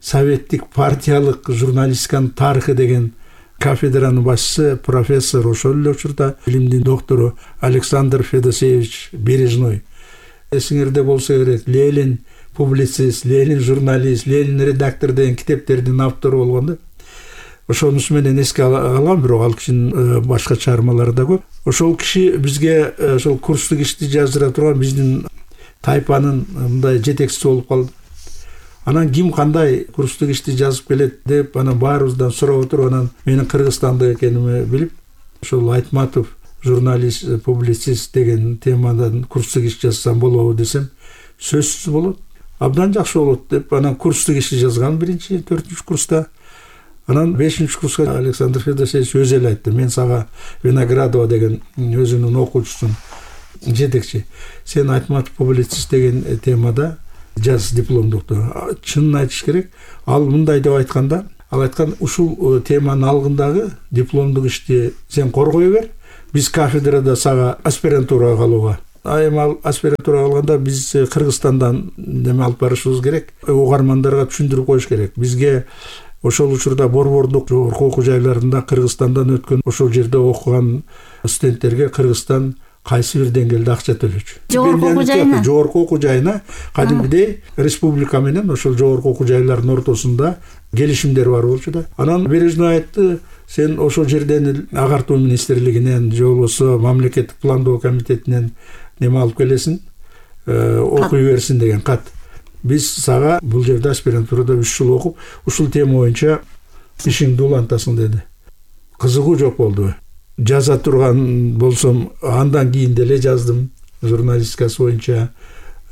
советтик партиялык журналистиканын тарыхы деген кафедранын башчысы профессор, ошол эле учурда илимдин доктору Александр Федосеевич Бережной. Эсиңерде болсо керек, Ленин публицист, Ленин журналист, Ленин редактор деген китептердин автору болгон да. Ошонусу менен эске алам, бирок ал кишинин башка чыгармалары да көп. Ошол киши бизге ошол курстук ишти жаздыра турган биздин тайпанын мындай жетекчиси болуп калды. Анан ким кандай курстук ишти жазып келет деп анан баарыбыздан сурап отуруп, анан менин Кыргызстандык экенимди билип, ошол Айтматов журналист, публицист деген темадан курстук иш жазсам болобу десем, сөзсүз болот, абдан жакшы болот деп анан курстук ишти жазган 1-4-курста. Анан 5-курска Александр Федосеевич өзү эле айтты: мен сага Виноградова деген өзүнүн окуучусун жетекчи, сен Айтматов публицист деген темада жаз дипломдукту. Чынын айтыш керек, ал мындай деп айтканда, ал айткан: ушул теманын алгындагы дипломдук ишти сен коргой бер, биз кафедрада сага аспирантурага калууга. Эми ал аспирантурага калганда биз Кыргызстандан неме алып барышыбыз керек, угармандарга түшүндүрүп коюш керек. Бизге ошол учурда борбордук жогорку окуу жайларында Кыргызстандан өткөн, ошол жерде окуган студенттерге Кыргызстан кайсы бир деңгээлде акча төлөчү. Жогорку окуу жайына кадимгидей республика менен ошол жогорку окуу жайлардын ортосунда келишимдер бар болчу да. Анан Бережной айтты: сен ошол жерден агартуу министрлигинен же болбосо мамлекеттик пландоо комитетинен неме алып келесиң, окуй берсин деген кат. Биз сага бул жерде аспирантурада 3 жыл окуп, ушул тема боюнча ишиңди улантасың деди. Кызыгуу жок болду. Жаза турган болсом, андан кийин деле жаздым журналистикасы боюнча,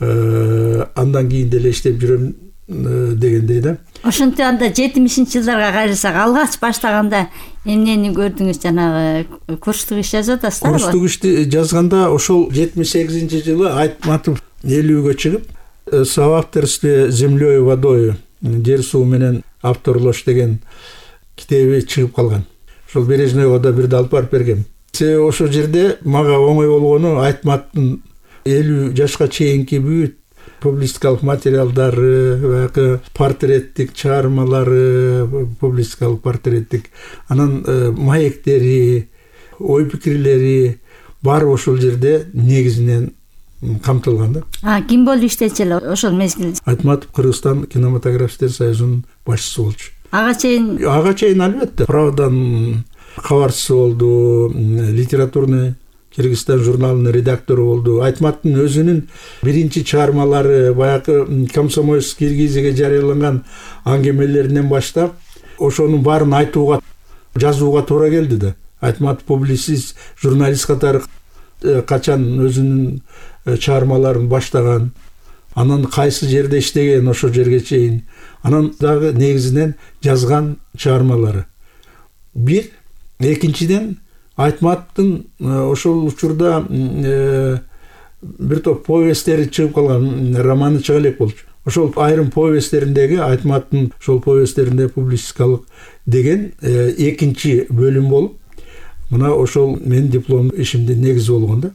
андан кийин деле иштеп жүрөм дегендей да. Ошентип анда 70-жылдарга кайрылсак, алгач баштаганда эмнени көрдүңүз? Жанагы курстук иш жазып атасыздар. Курстук ишти жазганда ошол 78-жылы Айтматов 50-гө чыгып, соавторстве землей и водой, жер суу менен авторлош деген китеби чыгып калган. Ошол Бережнойго да бирде алып барып бергем. Ошол жерде мага оңой болгону, Айтматтын 50 жашка чейинки бүт публистикалык материалдары, баягы портреттик чыгармалары, публистикалык портреттик, анан маектери, ой пикирлери баары ошол жерде негизинен камтылган да. Ким болуп иштечү эле ошол мезгилде? Айтматов Кыргызстан кинематографисттер союзунун башчысы болчу. Ага чейин албетте Правданың кабарчысы болду, литературный Кыргызстан журналынын редактору болду. Айтматтын өзүнүн биринчи чыгармалары, баягы Комсомольский Киргизиге жарыяланган аңгемелеринен баштап, ошонун баарын айтууга, жазууга туура келди да. Айтматов публицист, журналист катары качан өзүнүн чыгармаларын баштаган, анан кайсы жерде иштеген ошол жерге чейин, анан дагы негизинен жазган чыгармалары. Бир, экинчиден Айтматтын ошол учурда бир топ повесттери чыгып калган, романы чыга элек болчу. Ошол айрым повесттериндеги, Айтматтын ошол повесттеринде публистикалык деген экинчи бөлүм болуп, мына ошол менин диплом ишимдин негизи болгон да.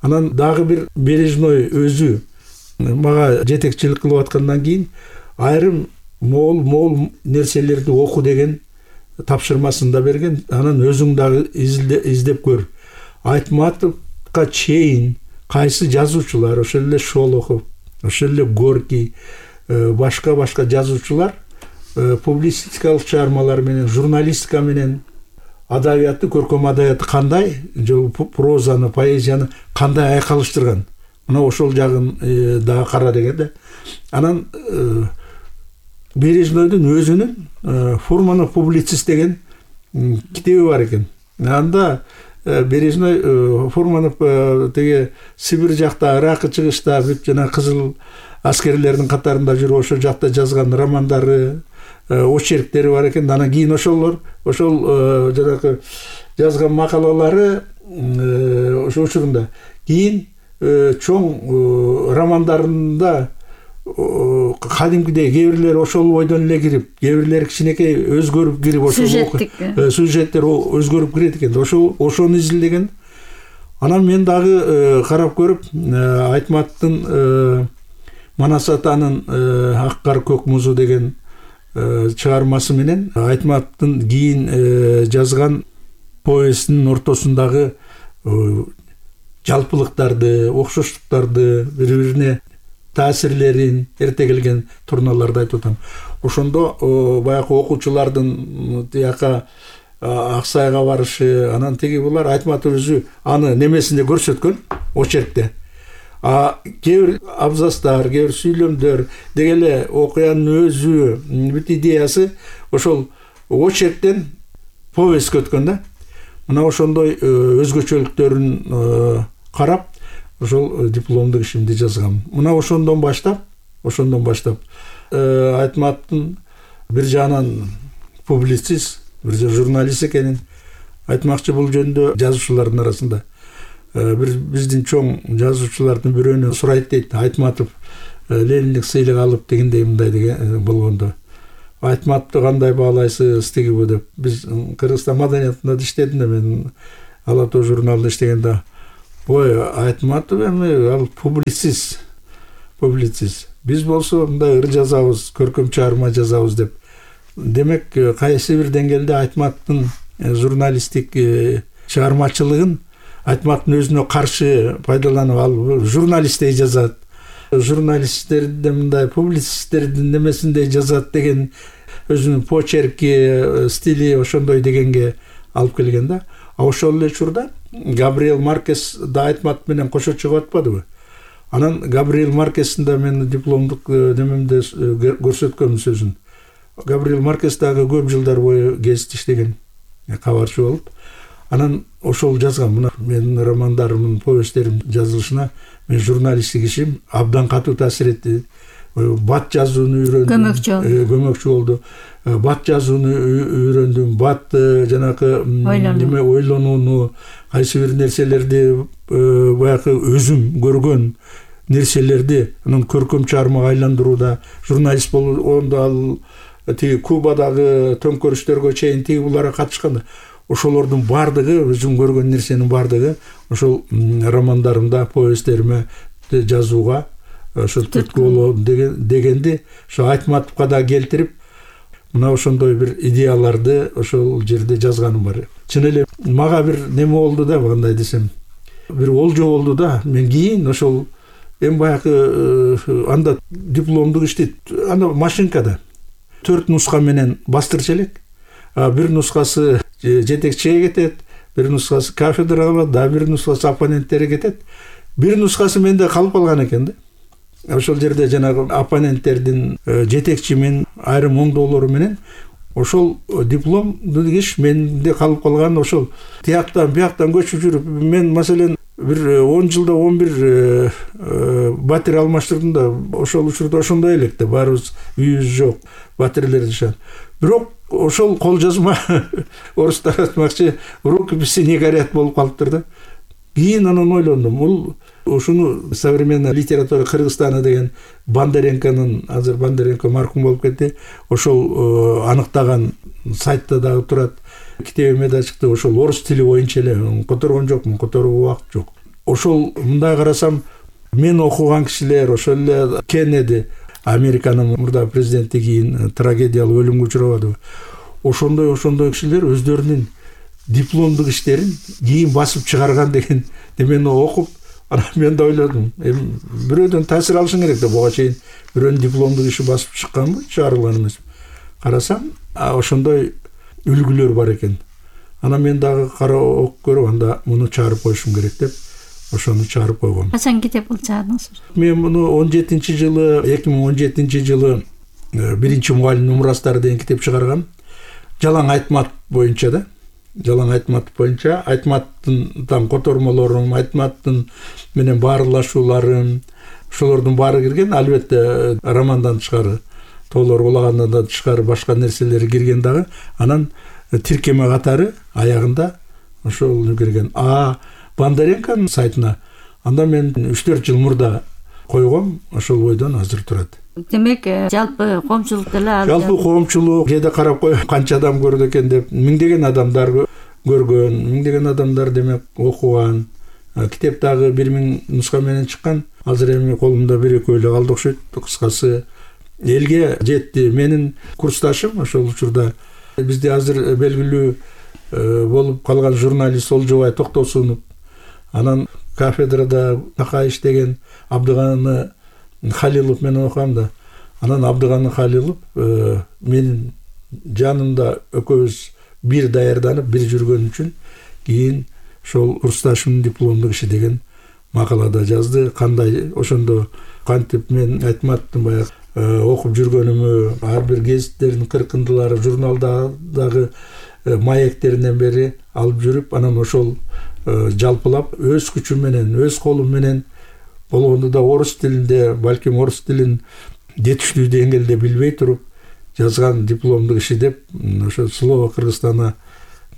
Анан дагы бир Бережной өзү мага жетекчилик кылып аткандан кийин айрым мол нерселерди оку деген тапшырмасын да берген. Анан өзүң дагы издеп көр. Айтматовго чейин кайсы жазуучулар, ошол эле Шолохов, ошол эле Горький, башка жазуучулар публистикалык чыгармалар менен, журналистика менен адабиятты, көркөм адабиятты кандай, прозаны, поэзияны кандай айкалыштырган. Мына ошол жагын дагы кара деген да. Анан Бережнойдун өзүнүн Фурманов публицист деген китеби бар экен. Анда Бережной Фурманов теге Сибир жакта, Иракы чыгышта бүт жана кызыл аскерлердин катарында жүрүп ошол жакта жазган романдары, очерктери бар экен. Анан кийин ошол жанагы жазган макалалары ошол учурунда кийин чоң романдарында кадимкидей кээ бирлери ошол бойдон эле кирип, кээ бирлери кичинекей өзгөрүп кирип, ошол сюжеттер өзгөрүп кирет экен. Ошону изилдеген. Анан мен дагы карап көрүп, Айтматтын Манас атанын Ак кар көк музу деген чыгармасы менен Айтматтын кийин жазган повестинин ортосундагы жалпылыктарды, окшоштуктарды, бири-бирине таасирлерин, эрте келген турналарды айтып атам. Ошондо баягы окуучулардын тияка Аксайга барышы, анан теги булар Айтматов өзү аны немесинде көрсөткөн, очеркте. Кээ бир абзацтар, кээ бир сүйлөмдөр деги эле окуянын өзү, бүт идеясы ошол очерктен повестке өткөн да. Мына ошондой өзгөчөлүктөрүн карап, ошол дипломдук ишимди жазгам. Мына ошондон баштап Айтматтын бир жагынан публицист, бир журналист экенин айтмакчы. Бул жөнүндө жазуучулардын арасында бир биздин чоң жазуучулардын бирөөнө сурайт дейт, Айтматов Лениндик сыйлык алып дегендей мындай деген болгондо, Айтматовду кандай баалайсыз тигиби деп. Биз Кыргызстан маданиятында иштедим да, мен Ала Тоо журналында иштегенде, ой, Айтматов эми ал публицист. Биз болсо мындай ыр жазабыз, көркөм чыгарма жазабыз деп. Демек, кайсы бир деңгээлде Айтматовдун журналисттик чыгармачылыгын Айтматовдун өзүнө каршы пайдаланып, ал журналисттей жазат, журналисттерди мындай публицисттердин немесиндей жазат деген өзүнүн почерки, стили ошондой дегенге алып келген да. Ошол эле учурда Габриэл Маркес да Айтматов менен кошо чыгып атпадыбы? Анан Габриэл Маркестин да мен дипломдук немемде көрсөткөм сөзүн. Габриэл Маркес дагы көп жылдар бою гезит иштеген, кабарчы болуп. Анан ошол жазган, мына менин романдарымдын, повесттерим жазылышына мен журналисттик ишим абдан катуу таасир этти. Бат жазууну үйрөндүм, көмөкчү болду. Бат жазууну үйрөндүм, бат жанакы неме ойлонууну, кайсы бир нерселерди баягы өзүм көргөн нерселерди анан көркөм чыгармага айландырууда журналист болгондо ал тиги Кубадагы төңкөрүштөргө чейин тиги буларга катышкан. Ошолордун бардыгы, өзүм көргөн нерсенин бардыгы ошол романдарымда, повесттериме жазууга ошо түрткү болот дегенди ошо Айтматовго да келтирип, мына ошондой бир идеяларды ошол жерде жазганым бар. Чын эле мага бир неме болду да, кандай десем, бир олжо болду да. Мен кийин ошол эми баягы анда дипломдук иштейт, анда машинкада 4 нуска менен бастырчу элек. Бир нускасы жетекчиге кетет, бир нускасы кафедрага калат, да бир нускасы оппоненттерге кетет. Бир нускасы менде калып калган экен да. Ошол жерде жанагы оппоненттердин жетекчимин айрым оңдоолору менен ошол дипломду иш менде калып калган. Ошол тияктан бияктан көчүп жүрүп, мен маселен бир 10 жылда 11 батир алмаштырдым да. Ошол учурда ошондой элек да, баарыбыз үйүбүз жок, батирлер жашат. Бирок ошол кол жазма орустар айтмакчы рукописи не горят болуп калыптыр да. Кийин анан ойлондум, бул ушуну современная литература Кыргызстана деген Бондаренконун, азыр Бондаренко маркум болуп кетти, ошол аныктаган сайтта дагы турат. Китебиме да чыкты, ошол орус тили боюнча эле которгон жокмун, которууга убакыт жок. Ошол мындай карасам, мен окуган кишилер, ошол эле Кеннеди, Американын мурда президенти кийин трагедиялык өлүмгө учурабадыбы. Ошондой кишилер өздөрүнүн дипломдук иштерин кийин басып чыгарган деген немени окуп, анан мен да ойлодум, эми бирөөдөн таасир алышың керек да, буга чейин бирөөнүн дипломдук иши басып чыкканбы, чыгарылган эмес. Карасам, ошондой үлгүлөр бар экен. Анан мен дагы кара окуп көрүп, анда муну чыгарып коюшум керек деп, ошону чыгарып койгом. Качан китеп чыгардыңыз? Мен муну 2017 жылы биринчи мугалим мурастары деген китеп чыгаргам. Жалаң Айтматов боюнча да. Жалаң Айтматов боюнча, Айтматовдун котормолорум, Айтматовдун менен баарлашууларым, ошолордун баары кирген. Албетте романдан тышкары, тоолор улагандан да тышкары башка нерселери кирген дагы. Анан тиркеме катары аягында ошол кирген. Бондаренконун сайтына анда мен 3-4 жыл мурда койгом, ошол бойдон азыр турат. Демек, жалпы коомчулук деле жалпы коомчулук жеде карап кой, канча адам көрдү экен деп, миңдеген адамдар көргөн, миңдеген адамдар демек окуган. Китеп дагы 1000 нуска менен чыккан. Азыр эми колумда 1-2 эле калды окшойт. Кыскасы элге жетти. Менин курсташым ошол учурда бизде азыр белгилүү болуп калган журналист Олжобай Токтосунов, анан кафедрада такай иштеген Абдыганы Халилов менен окугам да. Анан Абдыганы Халилов менин жанымда экөөбүз бир даярданып, бир жүргөн үчүн кийин ошол курсташымдын дипломдук иши деген макалада жазды. Кандай ошондо кантип мен Айтматовдун баягы окуп жүргөнүмү, ар бир гезиттердин кыркындылары, журналдагы маектеринен бери алып жүрүп, анан ошол жалпылап өз күчүм менен, өз колум менен болгондо да орус тилинде, балким орус тилин жетиштүү деңгээлде билбей туруп, жазган дипломдук иши деп ошо Слово Кыргызстана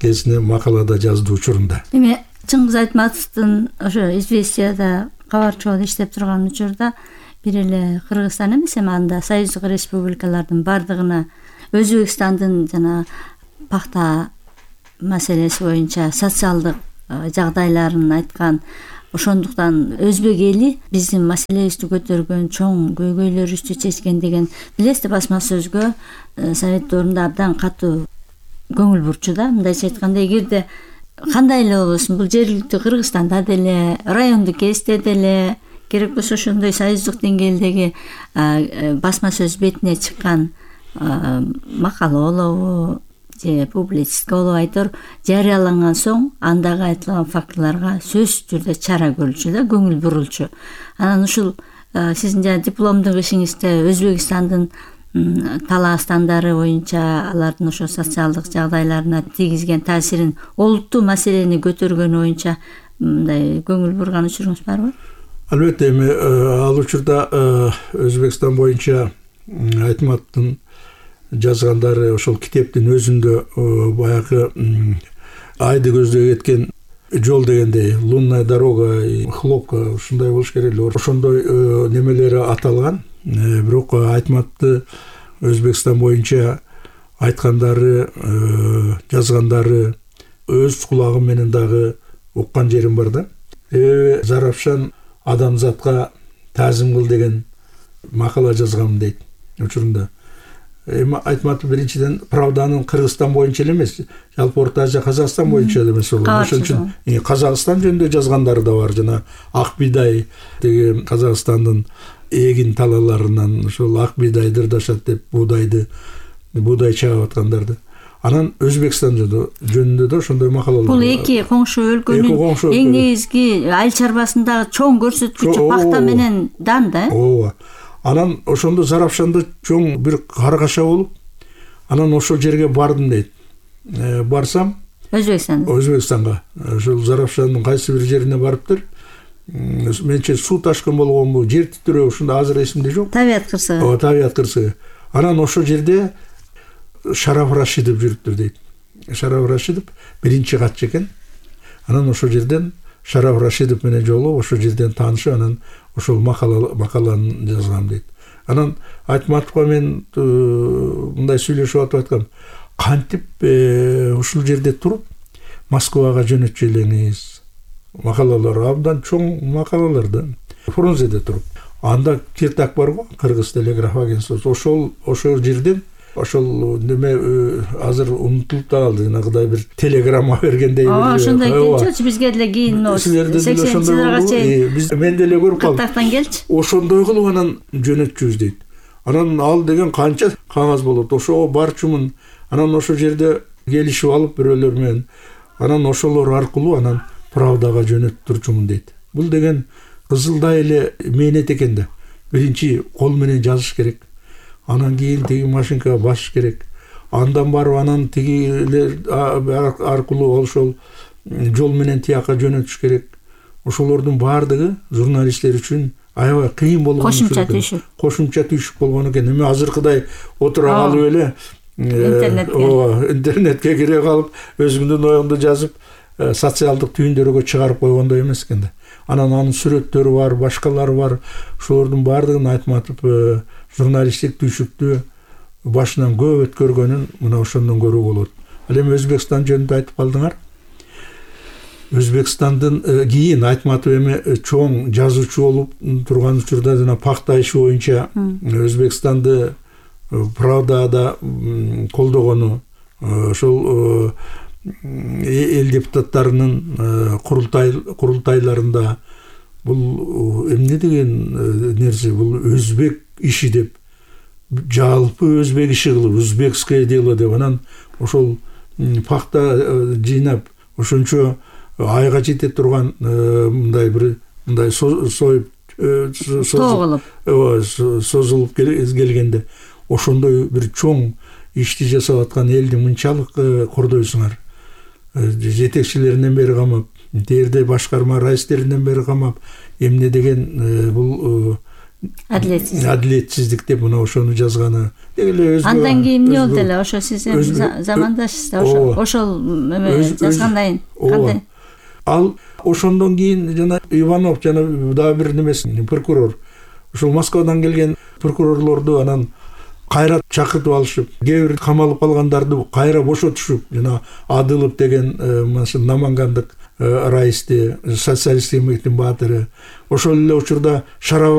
кезине макалада жазды учурунда. Эми Чыңгыз Айтматовдун ошо Известияда кабарчы болуп иштеп турган учурда бир эле Кыргызстан эмес, эми анда союздук республикалардын бардыгына Өзбекстандын жана пахта маселеси боюнча социалдык жагдайларын айткан. Ошондуктан өзбек эли биздин маселебизди көтөргөн, чоң көйгөйлөрүбүздү чечкен деген билесиз, басма сөзгө Совет доорунда абдан катуу көңүл бурчу да. Мындайча айтканда, эгерде кандай эле болбосун, бул жергиликтүү Кыргызстанда деле, райондук кезде деле, керек болсо ошондой союздук деңгээлдеги басма сөз бетине чыккан макала болобу же публицистика болобу, айтор жарыяланган соң андагы айтылган фактыларга сөзсүз түрдө чара көрүлчү да, көңүл бурулчу. Анан ушул сиздин жана дипломдук ишиңизде Өзбекстандын талаастандары боюнча алардын ошо социалдык жагдайларына тийгизген таасирин, олуттуу маселени көтөргөнү боюнча мындай көңүл бурган учуруңуз барбы? Албетте, эми ал учурда Өзбекстан боюнча Айтматовдун жазгандары ошол китептин өзүндө баягы айды көздөй кеткен жол дегендей, лунная дорога, хлопка, ушундай болуш керек эле, ошондой немелери аталган. Бирок Айтматовду Өзбекстан боюнча айткандары, жазгандары өз кулагым менен дагы уккан жерим бар да. Заравшан адамзатка таазим кыл деген макала жазгам дейт учурунда. Эми Айтматов биринчиден Правданын Кыргызстан боюнча эле эмес, жалпы Орто Азия, Казакстан боюнча эле эмес болот. Ошон үчүн Казакстан жөнүндө жазгандары да бар. Жана ак бидай деген Казакстандын эгин талаларынан ошол ак бидай дырдашат деп буудай чагып аткандарды. Анан Өзбекстан жөнүндө да ошондой макалалар. Бул эки коңшу өлкөнүн эң негизги айыл чарбасындагы чоң көрсөткүчү пахта менен дан да. Ооба. Анан ошондо Заравшанда чоң бир каргаша болуп, анан ошол жерге бардым дейт. Барсам Өзбекстанга, ошол Заравшандын кайсы бир жерине барыптыр. Менче суу ташкын болгонбу, жер титирөө, ушунда азыр эсимде жок. Табият кырсыгы. Ооба, табият кырсыгы. Анан ошол жерде Шараф Рашидов жүрүптүр дейт. Шараф Рашидов биринчи катчы экен. Анан ошол жерден Шараф Рашидов менен жолугуп, ошол жерден таанышып, анан ошол макаланы жазгам дейт. Анан Айтматовго мен мындай сүйлөшүп атып айткам, кантип ушул жерде туруп Москвага жөнөтчү элеңиз? Макалалар абдан чоң макалалар да. Фрунзеде туруп. Анда Киртак бар го, Кыргыз телеграф агентствосу. Ошол жерден ошол неме азыр унутулуп да калды, жанагыдай бир телеграмма бергендей бир. Ошондой келчү, бизге деле кийин 80-жылдарга чейин мен деле көрүп калдым. Кыртактан келчи. Ошондой кылып анан жөнөтчүбүз дейт. Анан ал деген канча кагаз болот, ошого барчумун. Анан ошол жерде келишип алып бирөөлөр менен, анан ошолор аркылуу анан Правдага жөнөтүп турчумун дейт. Бул деген кызылдай эле мээнет экен да. Биринчи кол менен жазыш керек. Анан кийин тиги машинкага басыш керек. Андан барып анан тигилер аркылуу ошол жол менен тияка жөнөтүш керек. Ошолордун баардыгы журналисттер үчүн аябай кыйын болгон. Кошумча түйшүк болгон экен. Эми азыркыдай отура калып эле интернетке кире калып өзүңдүн оюңду жазып социалдык түйүндөргө чыгарып койгондой эмес экен да. Анан анын сүрөттөрү бар, башкалары бар. Ошолордун баардыгын Айтматов журналисттик түйшүктү башынан көп өткөргөнүн мына ошондон көрүүгө болот. Ал эми Өзбекстан жөнүндө айтып калдыңар. Өзбекстандын кийин Айтматов эми чоң жазуучу болуп турган учурда жана пахта иши боюнча Өзбекстанды Правдада колдогону, ошол эл депутаттарынын курултайларында бул эмне деген нерсе, бул өзбек иши деп, жалпы өзбек иши кылып, узбекское дело деп, анан ошол пахта жыйнап ошончо айга жете турган мындай бир мындай созулуп келгенде ошондой бир чоң ишти жасап аткан элди мынчалык кордойсуңар. Жетекчилеринен бери камап, дээрде башкарма раистеринен бери камап, эмне деген бул адилетсиздик деп мына ошону жазганы деги эле өзгө. Андан кийин эмне болду эле? Ошо сиз замандашсыздар, ошол жазгандан кийин кандай? Ал ошондон кийин жана Иванов жана дагы бир немеси прокурор, ошол Москвадан келген прокурорлорду анан кайра чакыртып алышып, кээ бир камалып калгандарды кайра бошотушуп, жана Адылов деген Намангандык раисти, социалисттик эмгектин баатыры, ошол эле учурда Шараб